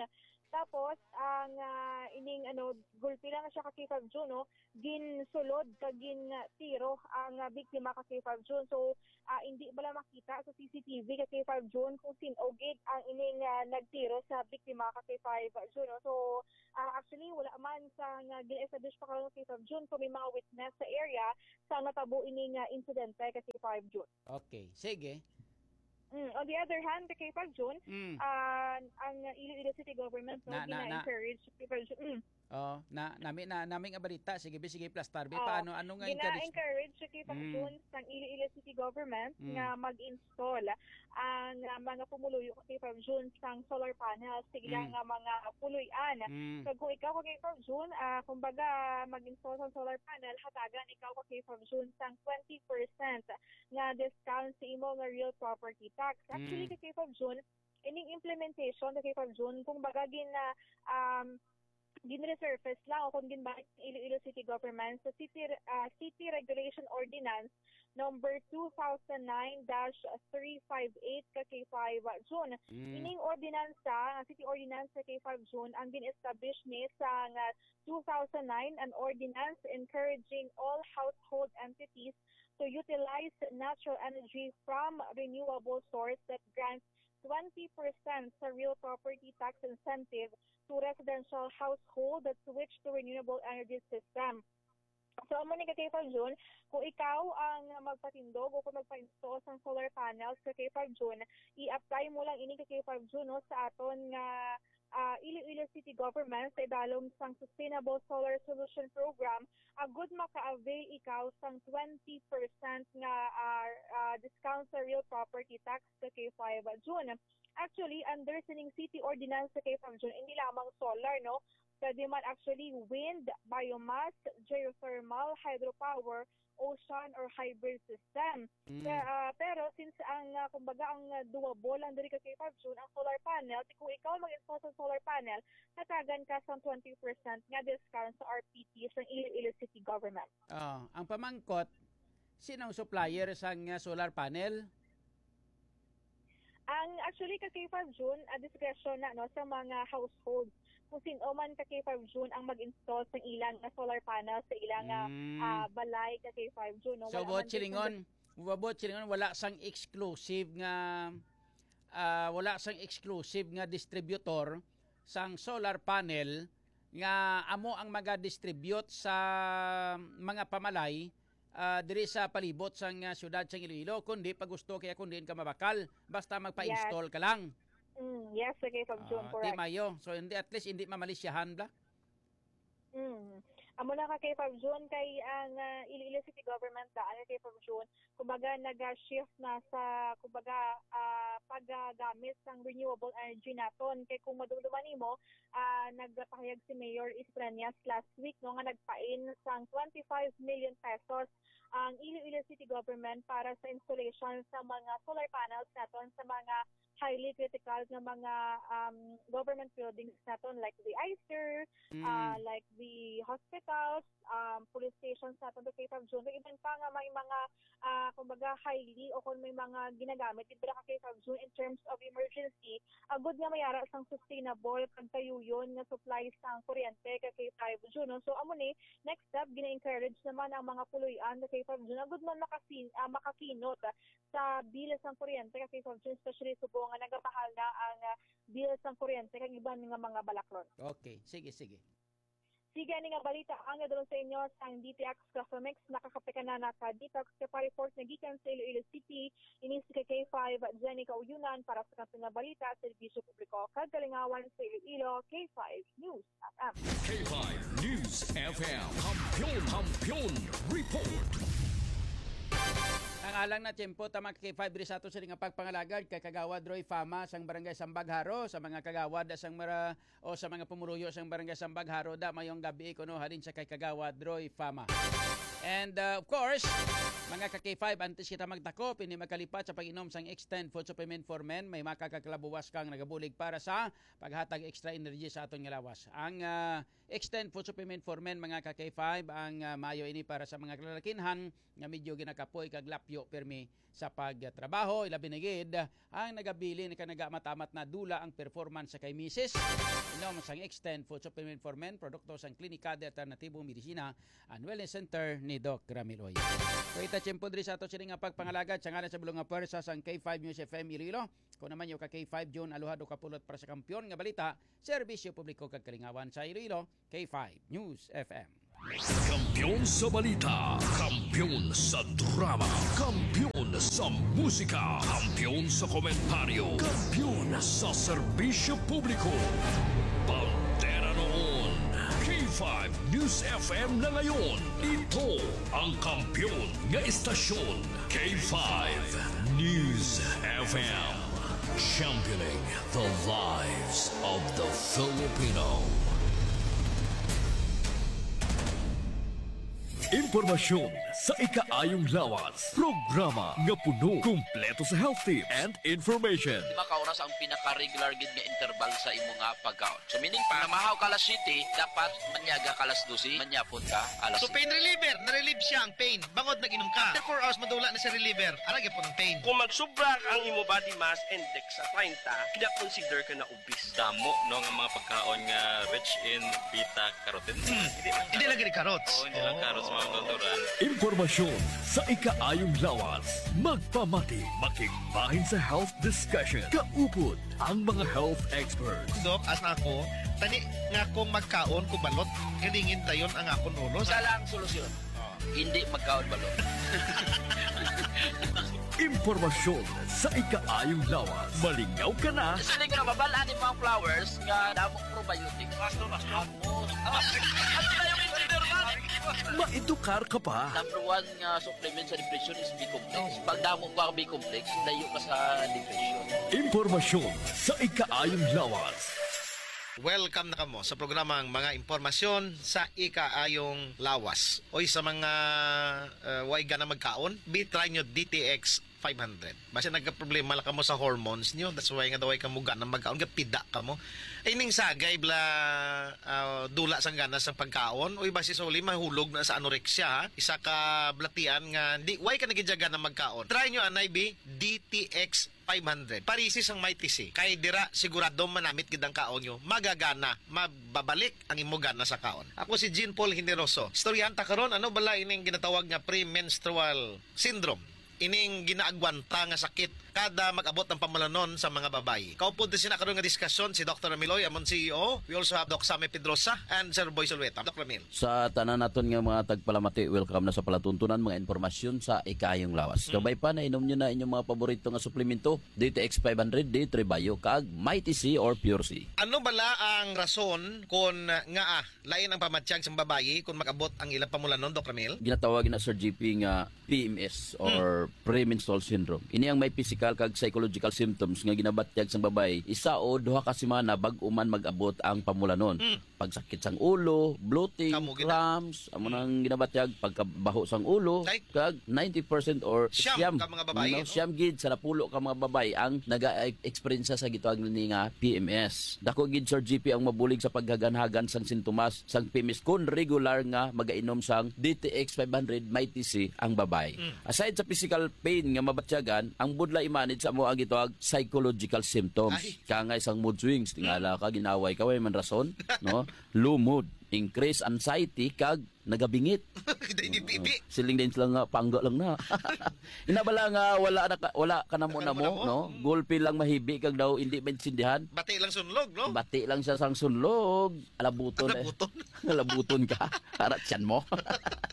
Tapos ang, ah, ining, ano, gulpi lang siya, ka K five June, no, ginsulod kag gin, ah, tiro ang, ah, biktima, ka K five June. So, ah, hindi bala makita sa C C T V, ka K five June, kung sin-o gid ang ining, ah, nagtiro sa biktima, ka K five June, no? So, ah, actually, wala man sa nga gin-establish pa karon, ka K five June, kung may mga witness sa area sa natabo ining, ah, insidente, ka K five June. Okay, sige. Mm, on the other hand, ka K five June, Mm. ah, ang Iloilo City Government, no, Na, na, na. gina-encourage, ka K five June. Mm. Oh, na nami na nami nga balita, sige bi, sige, plastar bi. Oh, Paano, ano nga encourage? Gina-encourage, ka K five Mm. June, sang Iloilo City Government Mm. nga mag-install ang, ah, mga pumuluyo, ka K five June, sang solar panels sa ila Mm. nga mga puloy-an. Mm. So kung ikaw, ka K five June, ah, kumbaga, mag-install sang solar panel, hatagan ikaw, ka K five June, sang twenty percent nga discount sa imo nga real property tax. Actually, Mm. ka K five June, ining implementation, ka K five June, kumbaga, gin, ah, um, gin-resurface lang o kung ginbalik ng Iloilo City Government sa City, ah, City Regulation Ordinance number two thousand nine dash three five eight, ka K five June. Mm. Ining ordinansa, ang City Ordinance, ka K five June, ang gin-establish ni sa nga two thousand nine, an ordinance encouraging all household entities to utilize natural energy from renewable source that grants twenty percent sa real property tax incentive to residential household that switch to renewable energy system. So, amo ni, ka K five June, kung ikaw ang magpatindog o kung magpa-install sang solar panels, ka K five June, i-apply mo lang ini, ka K five June, no, sa aton nga, ah, Iloilo City Government sa idalom sang Sustainable Solar Solution Program, agud maka-avail ikaw sang twenty percent nga, ah, ah, discount sa real property tax, ka K five June. Actually, under sining city ordinance, ka K five June, hindi lamang solar, no? Pwede man actually wind, biomass, geothermal, hydropower, ocean, or hybrid system. Mm. Pe-, ah, pero since ang, ah, kumbaga, ang, ah, doable lang diri, ka K five June, ang solar panel, ti kung ikaw mag-install sa solar panel, natagan ka sa twenty percent nga discount sa R P T sa Iloilo City Government. Ah, ang pamangkot, sino ang supplier sang, ah, solar panel? Ang, actually, ka K five June, ah, discretion na, no, sa mga household kung sino man, ka K five June, ang mag-install sa ilang nga solar panel sa ilang nga, Mm. ah, balay, ka K five June, no? So, Wala buot man silingon, buot silingon, wala sang exclusive nga, ah, wala sang exclusive nga distributor sang solar panel nga amo ang maga-distribute sa mga pamalay, ah, diri sa palibot sang, ah, siyudad sang Iloilo, kundi pag gusto kaya kundi ka mabakal, basta magpa-install Yes. ka lang. Mm, yes, sige, pag June, Ah, correct. Di mayo. So, hindi, at least, hindi mamalisyahan, bla? Mm. Amo na ka kay Fab June, kay ang, ah, Iloilo City Government daan kay Fab June, kumbaga, naga-shift na sa, kumbaga, ah, paggamit sang renewable energy naton. Kay kung madumduman nimo, ah, nagpahayag si Mayor Isprañas last week, no, nga nagpain sang twenty-five million pesos ang Iloilo City Government para sa installation sa mga solar panels naton sa mga highly critical nga mga, um, government buildings naton, like the I C E R, Mm. ah, like the hospitals, um, police stations naton, the K five June, iban pa nga may mga, ah, kumbaga, highly o kung may mga ginagamit, dira ka K five June in terms of emergency, agud nga mayara sang sustainable kag tayuyon nga supply sang kuryente ka K five June, no? So, amo ni, next step, gina-encourage naman ang mga puloy-an ka K five June, agud man makasin-, ah, makakinot sa bill sang kuryente ka K five June, especially subong nga nagamahal na ang, ah, bill sang kuryente kag iban nga mga balaklon. Okay, sige, sige. Sige, ani nga balita ang nadulong sa inyo sang D T X Coffee Mix. Nakakape ka na naka-detox ka pa. Report na gikan sa Iloilo City. Ini si K five Jenny Kauyunan para sa Kampiyon nga Balita, Serbisyo Publiko kag Kalingawan sa Iloilo, K five News F M. K five News F M. Kampiyon, Kampiyon Report. Ang alang na tiyempo, tama, K five, diri sa ato sini nga pagpangalagad kay Kagawad Roy Fama sang Barangay Sambagharo, sa mga kagawad sang mara-, o sa mga pumuluyo sang Barangay Sambagharo, da, mayong gabi kuno halin sa kay Kagawad Roy Fama. And, uh, of course, mga ka K five, antes kita magtakop, hindi magkalipat sa pag-inom sang Extend Food Supplement for Men. May makakakalabuwas kang nagabulig para sa paghatag extra energy sa aton nga lawas. Ang, uh, Extend Food Supplement for Men, mga ka K five, ang, uh, mayo ini para sa mga kalalakinhan nga medyo ginakapoy kag lapyo pirmi sa pagtrabaho, ilabi na gid ang nagabilin ka nagamatamat na dula ang performance sa kay misis. Inom sang Extend Food Supplement for Men, produkto sang Klinika de Alternatibo Medisina and Wellness Center ni Doc Ramil Uy. Kuwita tiyempo diri sa ato sini nga pagpangalagad sa ngalan sa bulong nga pwersa sang K five News F M Iloilo. Kung naman yung ka K five June, aluhado kapulot para sa kampiyon nga balita, serbisyo publiko kag kalingawan sa Iloilo, K five News F M. Kampiyon sa balita, kampiyon sa drama, kampiyon sa musika, kampiyon sa komentaryo, kampiyon sa serbisyo publiko. Bandera noon, K five News F M na ngayon. Ito ang kampiyon nga istasyon, K five News F M. Championing the lives of the Filipino. Impormasyon sa ikaayong lawas. Programa nga puno, kumpleto sa health tips and information. Di ba ka oras ang pinaka-regular gid nga interval sa imo nga pagkaon? So, meaning pa, namahaw ka alas siyete, dapat manyaga ka alas dose, manyapon ka alas So, pain reliever, na-relieve siya ang pain. Bangod nag-inom ka. After four hours, madula na sa reliever. Ara gyapon ang pain. Kung magsubra ang imo body mass index sa treinta, kina-consider ka na obese. Damo, no, nga mga pagkaon nga rich in beta carotene. Hmm. Hindi lang Hindi lang carotene. gani carrots. Oo, hindi lang Oo. carrots, mga natural. Impormasyon sa ikaayong lawas. Magpamati, makigbahin sa health discussion. Kaupod ang mga health experts. Dok, as na ako, tani nga akong magkaon ko balot, galingin dayon ang akon ulo. Isa lang solusyon. Oh. Hindi magkaon balot. Impormasyon sa ikaayong lawas. Malingaw ka na. Siling ka, mabal-an ni mga flowers nga damo probiotics. Mas to, mas to. Amo. Ano na yung engineer man? Maedukar ka pa. Number one nga supplement sa depression is B-complex. Oh. Pag damo ka B-complex, layo ka sa depression. Impormasyon sa ikaayong lawas. Welcome na kamo sa programang Mga Impormasyon sa Ikaayong Lawas. Oy, sa mga, uh, way gana magkaon, be try nyo D T X five hundred. Basta nagka-problema lang kamo sa hormones nyo, that's why nga daw ay kamo gana magkaon, gapida kamo. Ining sagay bala, ah, dula sang gana sa pagkaon, uy, basi sa uli mahulog na sa anorexia, ha? Isa ka balatian nga di, why ka nagidyaga na magkaon? Try nyo anay, bi, D T X five hundred. Parisi sang Mighty C. Kay dira sigurado manamit gid ang kaon nyo, magagana, mababalik ang imo gana sa kaon. Ako si Jean Paul Generoso. Istoryahan ta karon, ano bala ining ginatawag nga premenstrual syndrome? Ining ginaagwanta nga sakit kada mag-abot ang pamulanon sa mga babayi. Kaupod din sina karon nga diskusyon si Doktor Amiloy, amon C E O. We also have Doc Sammy Pedrosa and Sir Boy Sulueta. Doc Ramil. Sa tanan naton nga mga tagpalamati, welcome na sa palatuntunan, mga impormasyon sa ikayong lawas. Mm. Kabay pa, nainom nyo na inyong mga paborito nga suplemento, D T X five hundred, D three Bio, kag Mighty C or Pure C. Ano bala ang rason kon nga, ah, lain ang pamatyag sang babayi kon mag-abot ang ilang pamulanon, Doc Ramil? Ginatawag na, Sir G P, nga P M S or Hmm. premenstrual syndrome. Ini ang may physical kag psychological symptoms nga ginabatyag sang babayi isa o duha ka semana bag-o man mag-abot ang pamulanon. Hmm. Pagsakit sang ulo, bloating, Kamo gid. cramps, amo Hmm. nang ginabatyag, pagkabaho sang ulo, Ay. kag ninety percent or Siyam siyam, ka mga babayi, no, no? siyam gid sa napulo ka mga babayi ang naga-experience sa gitawag ni nga P M S. Dako gid, Sir G P, ang mabulig sa paghaganhagan sang sintomas sang P M S kon regular nga magainom sang D T X five hundred Mighty C ang babayi. Mm. Aside sa physical pain nga mabatyagan, ang budlay i-manage sa amo ang gitawag psychological symptoms. Ay. Kangay sang mood swings, tingala Mm. ka, ginaway ka, way man rason, no? Low mood, increased anxiety, kag nagabingit. Kita ini pipi. Siling din sila nga, pangga lang na. Ina bala nga wala na ka, wala ka namo namo, Wala namo. no? Mm. Gulpi lang mahibi kag daw hindi maintindihan. Bati lang sunlog, no? Bati lang siya sang sunlog. Alabuton, eh. Alabuton. Alabuton ka. Para tiyan mo.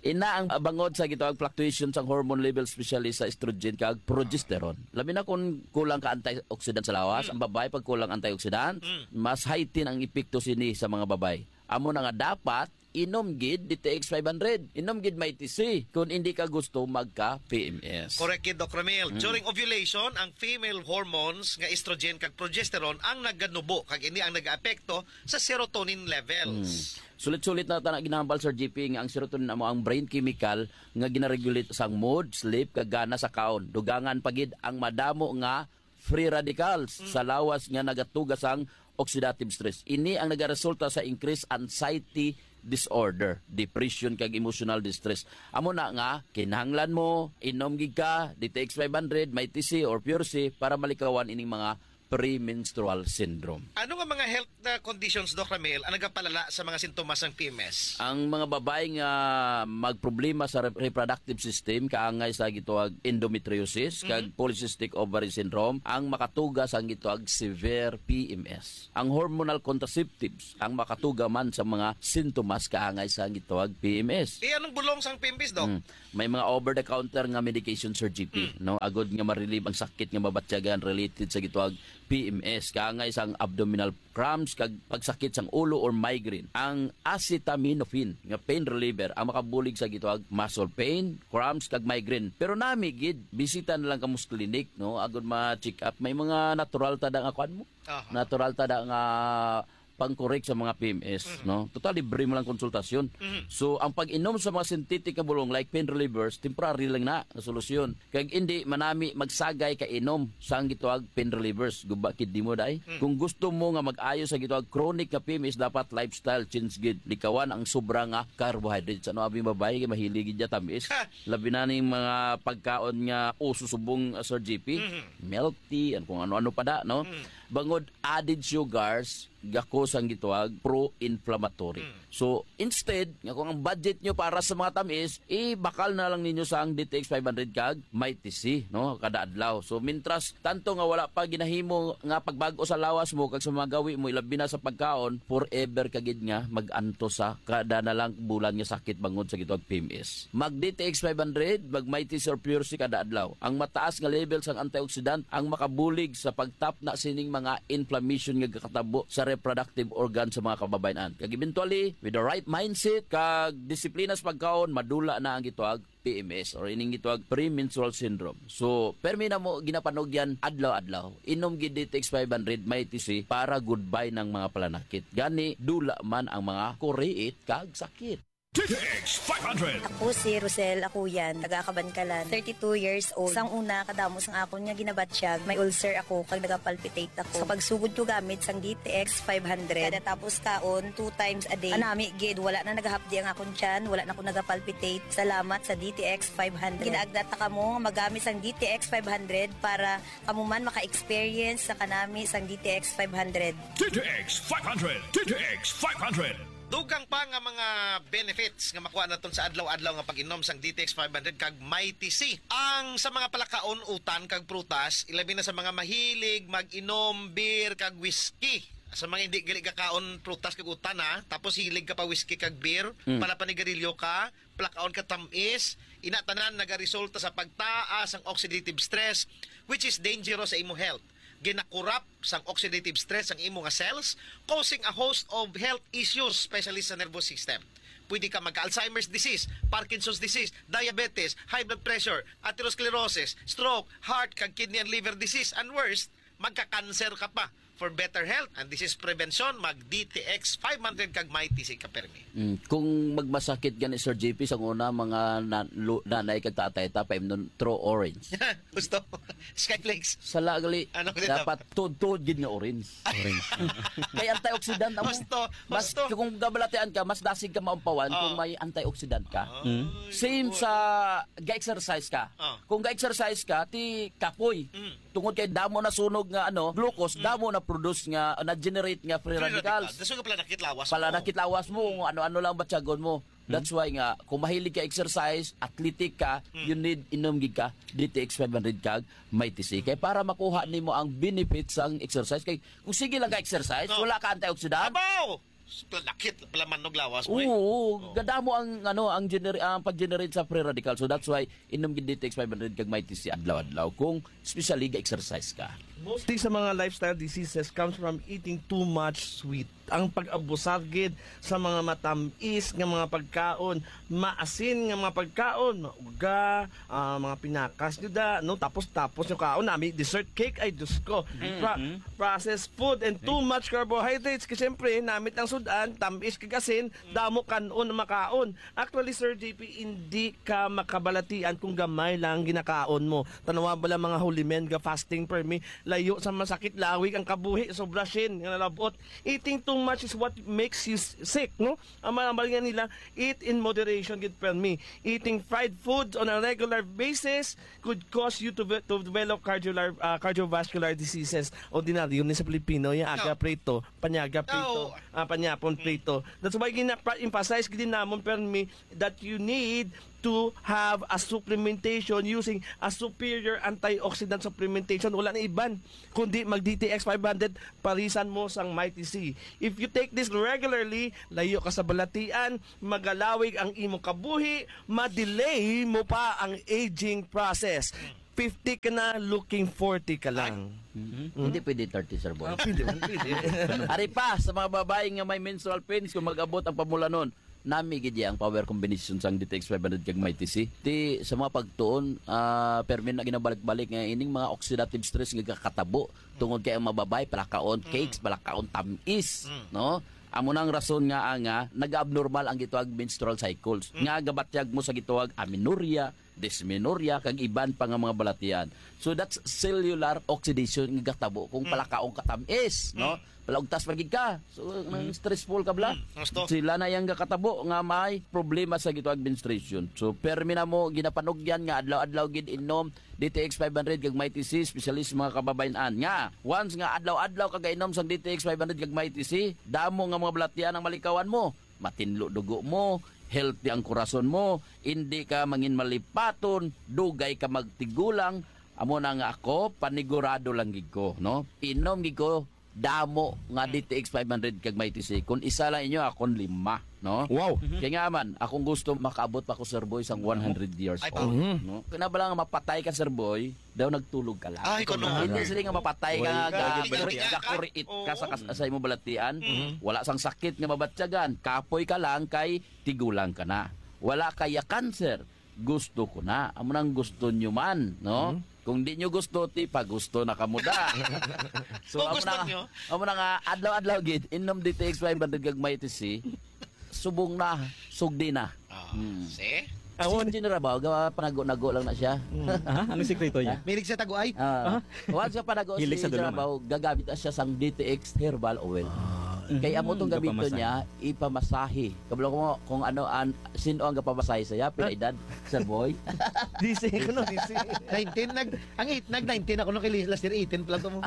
Ina ang, ah, bangod sa gitawag fluctuation sang hormone level, especially sa estrogen kag progesterone. Labi na kung kulang ka antioxidant sa lawas, Mm. ang babae pag kulang antioxidant, Mm. mas heighten ang epekto sini sa mga babae. Amo na nga dapat inom gid D T X five hundred, inom gid Mighty C kung hindi ka gusto magka P M S. Correct gid, Doc Ramil. Mm. During ovulation, ang female hormones nga estrogen kag progesterone ang naganubo, kag ini ang nagaapekto sa serotonin levels. Mm. Sulit-sulit na ta na ginahambal, Sir G P, nga ang serotonin amo ang brain chemical nga ginaregulate sang mood, sleep, kag gana sa kaon. Dugangan pa gid ang madamo nga free radicals Mm. sa lawas nga nagatuga sang oxidative stress. Ini ang nagaresulta sa increased anxiety disorder, depression, kag emotional distress. Amo na nga, kinahanglan mo, inom gid ka, D T X five hundred, Mighty C, or Pure C para malikawan ining mga premenstrual syndrome. Ano nga mga health na conditions, Doc Ramil, ang nagapalala sa mga sintomas ng P M S? Ang mga babae nga magproblema sa re-, reproductive system, kaangay sa gituwag endometriosis, kag Mhm. polycystic ovary syndrome, ang makatuga sang gituwag severe P M S. Ang hormonal contraceptives, ang makatuga man sa mga sintomas kaangay sa gituwag P M S. Eh, anong bulong sang P M S, Doc? Mm. May mga over-the-counter nga medication, Sir G P, Mm. no? Agod nga ma-relieve ang sakit nga mabatyagan related sa gituwag P M S, kaangay sang abdominal cramps kag pagsakit sang ulo or migraine. Ang acetaminophen nga pain reliever ang makabulig sa gituwag muscle pain, cramps kag migraine. Pero nami gid, bisita na lang kamo sa clinic, no? Agod ma-check up. May mga natural ta da nga kuan mo. Aha. Natural ta da nga pang-correct sa mga P M S, Mhm. no? Total, libre mo lang konsultasyon. Mhm. So, ang pag-inom sa mga synthetic nga bulong like pain relievers, temporary lang na nga solusyon. Kag indi manami magsagay ka inom sang gituwag pain relievers. Guba kid nimo, day. Mm. Kung gusto mo nga mag-ayo sa gituwag chronic nga P M S, dapat lifestyle change gid. Likawan ang sobra nga carbohydrates. Ano, abi, babae kay mahilig gid ya tamis. Ha! Labi na ning mga pagkaon nga uso subong, uh, Sir G P. Mhm. Milk tea, and kung ano-ano pa da, no? Mm. Bangod added sugars, gako sang gituwag pro-inflammatory. Mm. So, instead, nga kung ang budget nyo para sa mga tamis, ibakal na lang ninyo sang D T X five hundred kag Mighty C, no? Kada adlaw. So, mintras tanto nga wala pa ginahimo nga pagbag-o sa lawas mo kag sa mga gawi mo, ilabi na sa pagkaon, forever ka gid nga mag-antos sa kada na lang bulan nga sakit bangod sa gituwag P M S. Mag D T X five hundred, mag Mighty C or Pure C kada adlaw. Ang mataas nga level sang antioxidant ang makabulig sa pagtapna sining mga inflammation nga gakatabo sa reproductive organ sa mga kababayen-an. Kag eventually, with the right mindset kag disiplina sa pagkaon, madula na ang gituwag P M S or ining gituwag premenstrual syndrome. So, permi na mo ginapanugyan adlaw-adlaw. Inom gid D T X five hundred Mighty C para goodbye ng mga palanakit. Gani, dula man ang mga kuriit kag sakit. D T X five hundred. Ako si Rosel Akuyan, taga Kabankalan, thirty-two years old. Sang una, kadamo sang akon nga ginabatyag, may ulcer ako kag nagapalpitate ako. Sa pagsugod ko gamit sang D T X five hundred, kada tapos kaon, two times a day. Anami gid, wala na nagahapdi ang akon tiyan, wala na ko nagapalpitate. Salamat sa D T X five hundred. Ginaagda ta kamo nga magamit sang D T X five hundred para kamo man maka-experience sa kanami sang D T X five hundred. D T X five hundred. D T X five hundred. Dugang pa nga mga benefits nga makuha naton sa adlaw-adlaw nga pag-inom sang D T X five hundred kag Mighty C. Ang sa mga palakaon, utan kag prutas, ilabi na sa mga mahilig mag-inom beer kag whiskey. Sa mga hindi gali kakaon prutas kag utan, ha, tapos hilig ka pa whiskey kag beer, Mm. palapanigarilyo ka, palakaon ka tamis, ina tanan nagaresulta sa pagtaas ang oxidative stress, which is dangerous sa imo health. Ginakurap sang oxidative stress ang imo nga cells, causing a host of health issues, especially sa nervous system. Pwede ka magka-Alzheimer's disease, Parkinson's disease, diabetes, high blood pressure, atherosclerosis, stroke, heart, kag kidney and liver disease, and worse, magka-cancer ka pa. For better health, and this is prevention, mag D T X five hundred kag Mighty C ka permi. Mm, kung magmasakit gani, Sir J P, sa una, mga na-, lu-, nanay kag tatay ta, paimnon, Tro Orange. Gusto? Skyflakes. Sala gali. Ano gali dapat? Dapat tuod-tuod gid nga orange. Orange. Kay antioxidant amo. Gusto, Mas, gusto. Kung gabalatian ka, mas dasig ka maumpawan kung Oh. may antioxidant ka. Ay, Same oo. sa ga-exercise ka. Oh. Kung ga-exercise ka, ti kapoy. Mm. Tungod kay damo na sunog nga, ano, glucose, Mm. damo na produce nga, na-generate nga free Free radicals. radical. Dason nga pala nakit lawas mo. Pala nakit lawas mo, Mm. kung ano-ano lang batyagon mo. Mm. That's why nga, kung mahilig ka exercise, athletic ka, Mm. you need inom gid ka, D T X five hundred kag Mighty C. Kay para makuha nimo ang benefits sang exercise, kay kung sige lang ka exercise, No. wala ka antioxidant. Abaw! Pala nakit, pala manog lawas mo eh. Oo, Oh. gadamo ang, ano, ang gener-, ang pag-generate sa free radical. So that's why inom gid D T X five hundred kag Mighty C adlaw-adlaw kung especially ga-exercise ka. Mostly sa mga lifestyle diseases comes from eating too much sweet. Ang pag-abusar gid sa mga matamis nga mga pagkaon, maasin nga mga pagkaon, mauga, ah, mga pinakas gid, ah, no? Tapos, tapos yung kaon, nami dessert cake, ay, Diyos ko. Pra- processed food and too much carbohydrates. Kasi siyempre, namit ang sudan, tamis kag asin, damo kanon na makaon. Actually, Sir J P, hindi ka makabalatian kung gamay lang ginakaon mo. Tanawa bala mga holy men ga fasting permi, layo sa masakit, lawig ang kabuhi, sobra sin nga nalabot. Eating too much is what makes you s- sick, no? Ang mga nga nila, eat in moderation gid permi. Eating fried foods on a regular basis could cause you to ve- to develop cardiovascular uh, cardiovascular diseases. Ordinaryo ni sa Pilipino, yung aga prito, panyaga prito, ah, panyapon prito. That's why gina-emphasize gid namon permi that you need to have a supplementation using a superior antioxidant supplementation. Wala na iban kundi mag D T X five hundred, parisan mo sang Mighty C. If you take this regularly, layo ka sa balatian, magalawig ang imo kabuhi, ma-delay mo pa ang aging process. Fifty ka na, looking forty ka lang. Hindi pwede thirty, sir boy. Ah, pwede, pwede. Ari pa, sa mga babae nga may menstrual pains, kung mag-abot ang pamulanon, nami gid ang power combination sang D T X five hundred kag Mighty C. Ti sa mga pagtuon, ah, permi na ginabalik-balik nga ining mga oxidative stress nga kakatabo tungod kay ang mga babae palakaon cakes, palakaon tamis, no? Amo nang rason nga nga nag-abnormal ang gitawag menstrual cycles. Nga gabatyag mo sa gitawag amenorrhea, dysmenorrhea, kag iban pa nga mga balatian. So that's cellular oxidation nga gatabo kung palakaon ka tamis, no? Palaugtas pa gid ka. So nang stressful ka bala. Mm, gusto. Sila na yang gatabo nga may problema sa gitawag menstruation. So permi na mo ginapanugyan nga adlaw-adlaw gid inom D T X five hundred kag Mighty C, especially sa mga kababayan-an. Nga once nga adlaw-adlaw ka gainom sang D T X five hundred kag Mighty C, damo nga mga balatian ang malikawan mo. Matinlo dugo mo, healthy ang kurason mo, hindi ka mangin malipaton, dugay ka magtigulang. Amo na nga ako, panigurado lang gid ko, no? Inom gid ko damo nga D T X five hundred kag Mighty C. Kung isa lang inyo, akon lima, no? Wow. Kaya nga man, akong gusto makaabot pa ko, Sir Boy, sang one hundred years Ay, old, no? Kaya na bala nga mapatay ka, Sir Boy, daw nagtulog ka lang. Ay, kuno. Hindi sila nga mapatay ka Wala nga ka ga- gid balatian. gakuriit ka sa, kas- sa imong balatian. Wala sang sakit nga mabatyagan. Kapoy ka lang kay tigulang ka na. Wala kaya cancer. Gusto ko na. Amo nang gusto nyo man, no? Kung di nyo gusto, ti pa gusto na kamo da. So, Kung amo gusto na, nyo. Amo na nga, adlaw-adlaw gid, inom D T X five hundred kag Mighty C. Subong na, sugdi na. Ah, Hmm. See? Awan. Si General Bao, gawa panago-nago lang na siya. Ah, ano sikreto niya? Milig sa taguay. Ah, once ka panago si Hilig sa General duluma. Bao, gagamit na siya sang D T X herbal oil. Kaya amo tong Mm, gamiton gapamasahe. Niya, ipamasahe. Kabalo ko kung ano ang, sino ang gapamasahe sa iya, pila edad, Sir Boy? D C ko no, D C. nineteen, nag, ang eight, nag nineteen ako nung kay last year, eighteen pala to mo.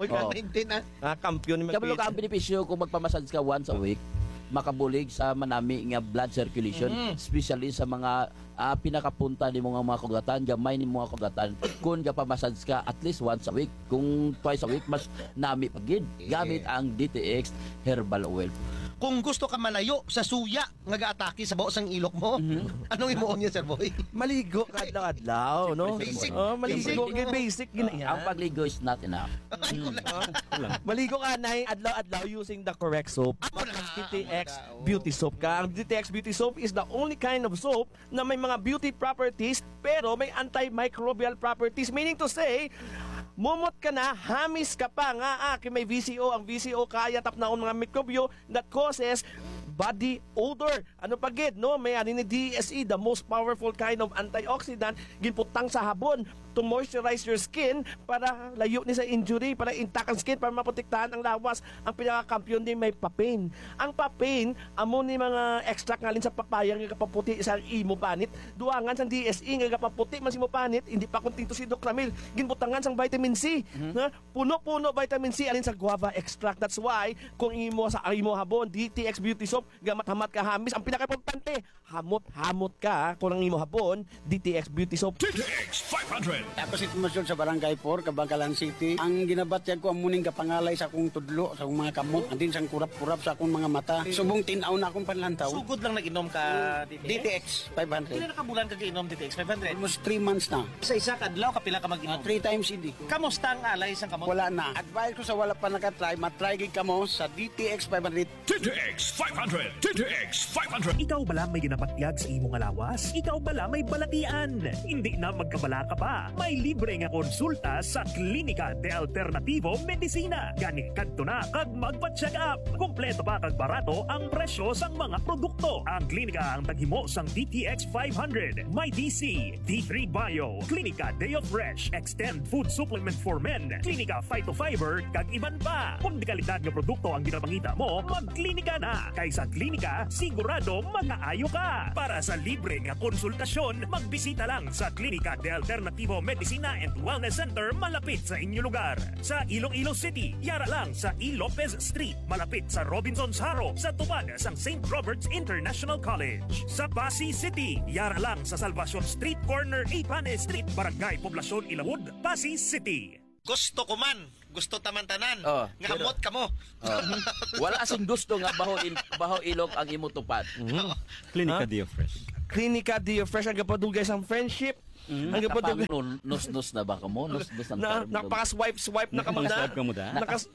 Uy, Oh. nineteen ah. Ah, kampiyon ni Kabalo ka Magpit. Ang benepisyo kung magpamassage ka once a week, makabulig sa manami nga blood circulation, especially sa mga ah, pinakapunta nimo nga mga kugatan, gamay nimo nga kugatan. Kung gapamassage ka at least once a week, kung twice a week, mas nami pa gid. Gamit ang D T X Herbal Oil. Kung gusto ka malayo sa suya nga gaatake sa baho sang ilok mo, anong imuon niya, Sir Boy? Maligo ka adlaw-adlaw, no? Basic. Oh, maligo Basic. kay basic gina yan. Ang pagligo is not enough. Maligo ka na adlaw-adlaw using the correct soap. Amo na, D T X amo na, oo. Beauty Soap ka. Ang D T X Beauty Soap is the only kind of soap na may mga beauty properties pero may antimicrobial properties. Meaning to say, mumot ka na, hamis ka pa nga ah, kay may V C O. Ang V C O kaya tapnaon mga mikrobyo that causes body odor. Ano pa gid, no? May ani ni D S E, the most powerful kind of antioxidant, ginputang sa habon to moisturize your skin para layo ni sa injury, para intact ang skin, para maprotektahan ang lawas. Ang pinakakampiyon ni may papain. Ang papain, amo ni mga extract ngalin sa papaya nga gapaputi sa imo panit. Duangan sang D S E nga gapaputi man sa imo panit, hindi pa kontento si Doc Ramil. Ginbutangan sang vitamin C. Na puno-puno vitamin C alin sa guava extract. That's why kung imo sa imo habon, D T X Beauty Soap, gamat-hamat ka hamis. Ang pinakaimportante, hamot-hamot ka kung ang imo habon, D T X Beauty Soap. D T X five hundred Ako si Tomas George sa Barangay four, Kabankalan City. Ang ginabatyag ko, amo ning gapangalay sa akong tudlo, sa akong mga kamot, and then sang kurap-kurap sa akong mga mata. Subong tin-aw na akong panlantaw. Sugod lang nag-inom ka D T X? D T X five hundred. Pila na ka bulan ka giinom D T X five hundred? Almost three months na. Sa isa ka adlaw, kapila ka mag-inom? Ah, three times a day. Kamusta ang alay sang kamot? Wala na. Advice ko sa wala pa nakatry, matry gid kamo sa D T X five hundred. T T X five hundred, T T X five hundred. Ikaw bala may ginabatyag sa imo nga lawas? Ikaw bala may balatian? Hindi na magkabala ka pa. May libre nga konsulta sa Klinika de Alternativo Medicina. Gani, kadto na kag magpa-check up. Kompleto pa kag barato ang presyo sang mga produkto. Ang klinika ang taghimo sang D T X five hundred, may D C, D three Bio, Klinika Deo Fresh, Extend Food Supplement for Men, Klinika Phytofiber, kag iban pa. Kung dekalidad nga produkto ang ginapangita mo, magklinika na. Kay sa klinika, sigurado makaayo ka. Para sa libre nga konsultasyon, magbisita lang sa Klinika de Alternativo Medicina and Wellness Center malapit sa inyo lugar. Sa Iloilo City, yara lang sa E. Lopez Street, malapit sa Robinson's Haro, sa tubad sang Saint Robert's International College. Sa Passi City, yara lang sa Salvacion Street, corner Ipane Street, Barangay Poblacion Ilawod, Passi City. Gusto ko man. Gusto ta man tanan. Oh, nga pero amot kamo. Oh. Wala sing gusto nga baho il-, baho ilok ang imo tupad. Mhm. Klinika Ha? Dio Fresh. Klinika Dio Fresh ang gapadugay sang friendship. Mhm. Ang gapadugay. Tapang nun, nus-nus na ba kamo? Nus-nus ang Na, term nun. Napaka-swipe-swipe na kamo Napang da. Swipe kamo da? Nakas-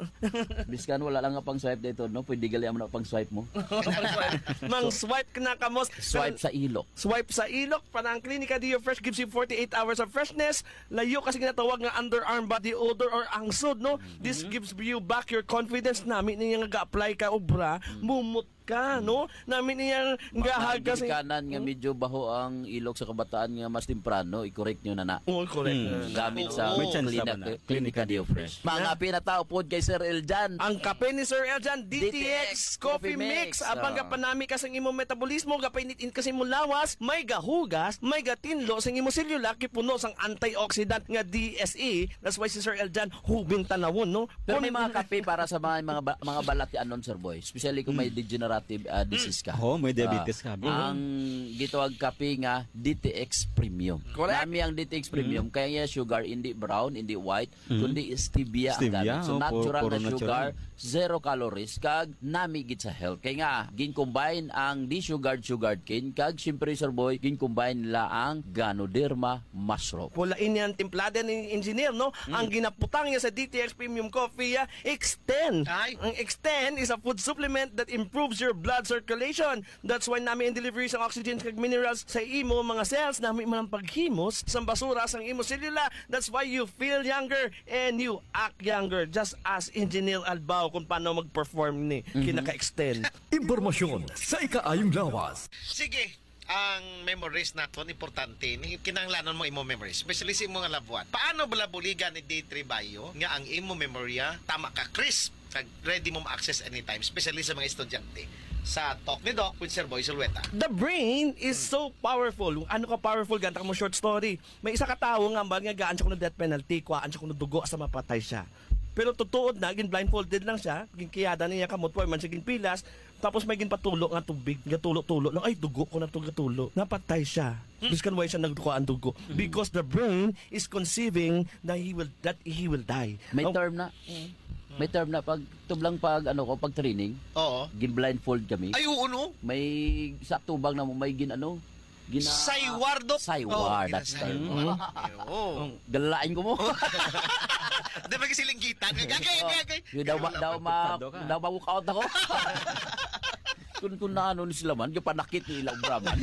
Biskan wala lang nga pang swipe dito, no? Pwede gali amo na pang swipe mo. Mang swipe na kamo. Swipe sa ilok. Swipe sa ilok. Para ang Klinika Dio Fresh gives you forty-eight hours of freshness. Layo kasi ginatawag nga underarm body odor or angsod, no? This gives you back your confidence. Nami niya nga ga-apply ka obra, mumot ka, no? Nami niya Mga nga hag kasi ginikanan nga medyo baho ang ilok sa kabataan nga mas temprano, i-correct nyo na na. Oh, correct. Mm, gamit sa May chance Clinic-, naman na. Clinica Dio Fresh. Mga pinatao pod kay Sir Eljan. Ang kape ni Sir Eljan, D T X D T X Coffee Coffee Mix. Mix. Abang Ah. gapanami ka sang imong metabolismo, gapainit-init ka sa imong lawas, may gahugas, may gatinlo sang imong selula, kay puno sang antioxidant nga D S E. That's why si Sir Eljan, hubing tanawon, no? Pero may Kun- mga kape para sa mga, mga, ba-, mga balatianon, Sir Boy. Especially kung may Mm. degenerative, ah, disease ka. Oo, may diabetes Ah, ka, abi. ang gitawag kape nga D T X Premium. Correct. Nami ang D T X Premium, Mm. kaya niya sugar, hindi brown, hindi white, Mm. kundi stevia ang Stevia, gamit. So, oh, pu-, natural puro na sugar, natural. Zero calories, kag nami gid sa health. Kay nga, gin-combine ang desugared sugarcane, kag siyempre, Sir Boy, gin-combine nila ang Ganoderma mushroom. Wala ini ang timplada ni engineer, no? Mm. Ang ginaputang niya sa D T X Premium Coffee, ah, Extend. Ay. Ang Extend is a food supplement that improves your blood circulation. That's why nami ang delivery sang oxygen kag minerals sa imo mga cells. Nami man ang paghimos sang basura sang imo selula. That's why you feel younger and you act younger. Just ask Engineer Albao kung paano mag-perform ni Mhm. kinaka-extend. Impormasyon sa ikaayong lawas. Sige, ang memories naton importante. Ni kinahanglanon mo imo memories, especially sa imo nga loved one. Paano bala buligan ni D three Bio nga ang imo memorya tama ka crisp kag ready mo ma-access anytime, especially sa mga estudyante? Sa Talk ni Doc with Sir Boy Zulueta. The brain is so powerful. Ano ka powerful? Ganta mo short story. May isa ka tawo nga ambal nga gaan siya kuno death penalty, kuhaan siya kuno dugo sa mapatay siya. Pero tutuod na, gin blindfolded lang siya, ginkiyada niya kamot, wa man siya ginpilas, tapos may ginpatulo nga tubig, gatulo-tulo lang, "Ay, dugo ko na to, gatulo." Napatay siya. Hmm. Biskan wala siya nagkuhaan dugo. Hmm. Because the brain is conceiving that he will, that he will die. May Oh. term na. Mm. May term na pag tublang pag, ano ko, pag training. Oo. Gin-blindfold kami. Ay, oo, no? May sa tubang na mo, may gin, ano, gina- Sayward, Doc? Sayward, Oh, that's gina-, term. Mm. Oo. Ang galain ko mo. Di ba kasi linggitan? Gagay, Oo. gagay. Yun daw ma-, daw ma-, Pagpado ka. daw ma-walk out ako. Kung, kung naano ni sila man, yung panakit ni ilang braman.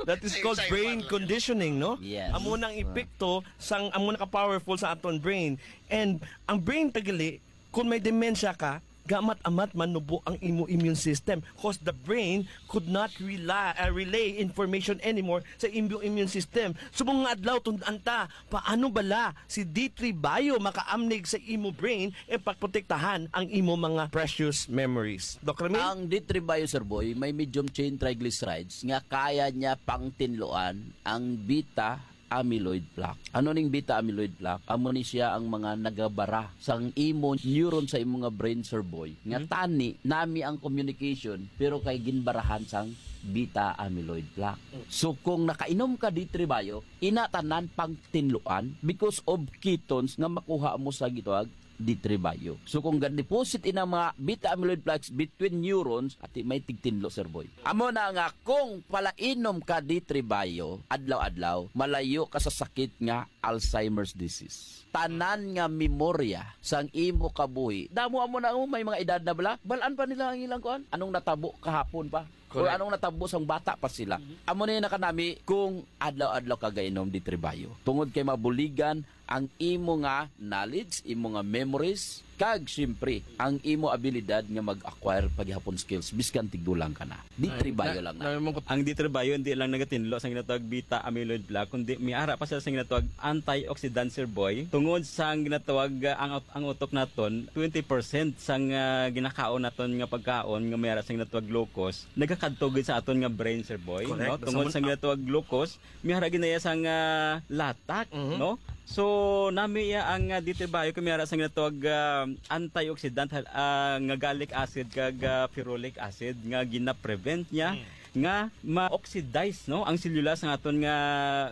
That is Ay, called sayward brain lang yun. conditioning, no? Yes. Amo nang epekto sang amo na ka-powerful sa aton brain. And ang brain tagali, kung may dementia ka, gamat-amat manubo ang imo immune system, 'cause the brain could not rely, uh, relay information anymore sa imo immune system. Subong nga adlaw, tun-an ta, paano bala si D three Bio makaamnig sa imo brain e pagprotektahan ang imo mga precious memories? Doc Ramil? Ang D three Bio, Sir Boy, may medium chain triglycerides nga kaya niya pangtinluan ang beta amyloid plaque. Ano ning beta amyloid plaque? Amo ni siya ang mga nagabara sang imo neuron sa imo nga brain, Sir Boy. Nga Hmm? tani, nami ang communication, pero kay ginbarahan sang beta amyloid plaque. Hmm. So kung nakainom ka D three Bio, ina tanan pang tinluan because of ketones nga makuha mo sa gitawag D three Bio. So kung ga-deposit ina mga beta amyloid plaques between neurons, ati may tigtinlo, Sir Boy. Amo na nga kung palainom ka D three Bio adlaw-adlaw, malayo ka sa sakit nga Alzheimer's disease. Tanan nga memorya sang imo kabuhi. Damo amo na, oh, may mga edad na bala. Balaan pa nila ang ilang kuan. Anong natabo kahapon pa? Or Correct. anong natabo sang bata pa sila? Mhm. Amo na yung nakanami kung adlaw-adlaw ka gainom D three Bio. Tungod kay mabuligan ang imo nga knowledge, imo nga memories, kag siyempre, ang imo abilidad nga mag-acquire paghihapon skills, biskan tigulang ka na. D three Ay, Bio na, lang na. na, Ang D three Bio hindi lang nagatinlo sa ginatawag beta amyloid plaque, kundi may ara pa sila sa ginatawag antioxidant, Sir Boy. Tungod sa ginatawag, ah, ang, ang utok naton, twenty percent sang, ah, ginakaon naton nga pagkaon nga may ara sa ginatawag glucose, nagakadto gid sa aton nga brain, Sir Boy, Correct. no? Tungod Sa sa ginatawag glucose, may ara ginaya sang, ah, latak, Mhm. no? So, nami iya ang, ah, D three Bio kay may ara sa ginatawag, ah, antioxidant, ah, nga gallic acid kag, ah, ferulic acid nga gina-prevent niya Mm. nga ma-oxidize, no, ang selula sa aton nga,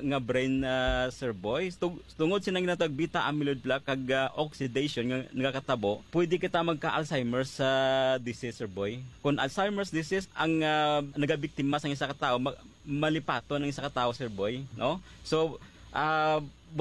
nga brain, ah, Sir Boy. Tung-, tungod sa ginatawag beta amyloid plaque kag, ah, oxidation nga nagakatabo, pwede kita magka-Alzheimer's, ah, disease, Sir Boy. Kung Alzheimer's disease ang, ah, nagabiktima sa isa ka tawo, ma-, malipaton ang isa ka tawo, Sir Boy, no? So, ah, but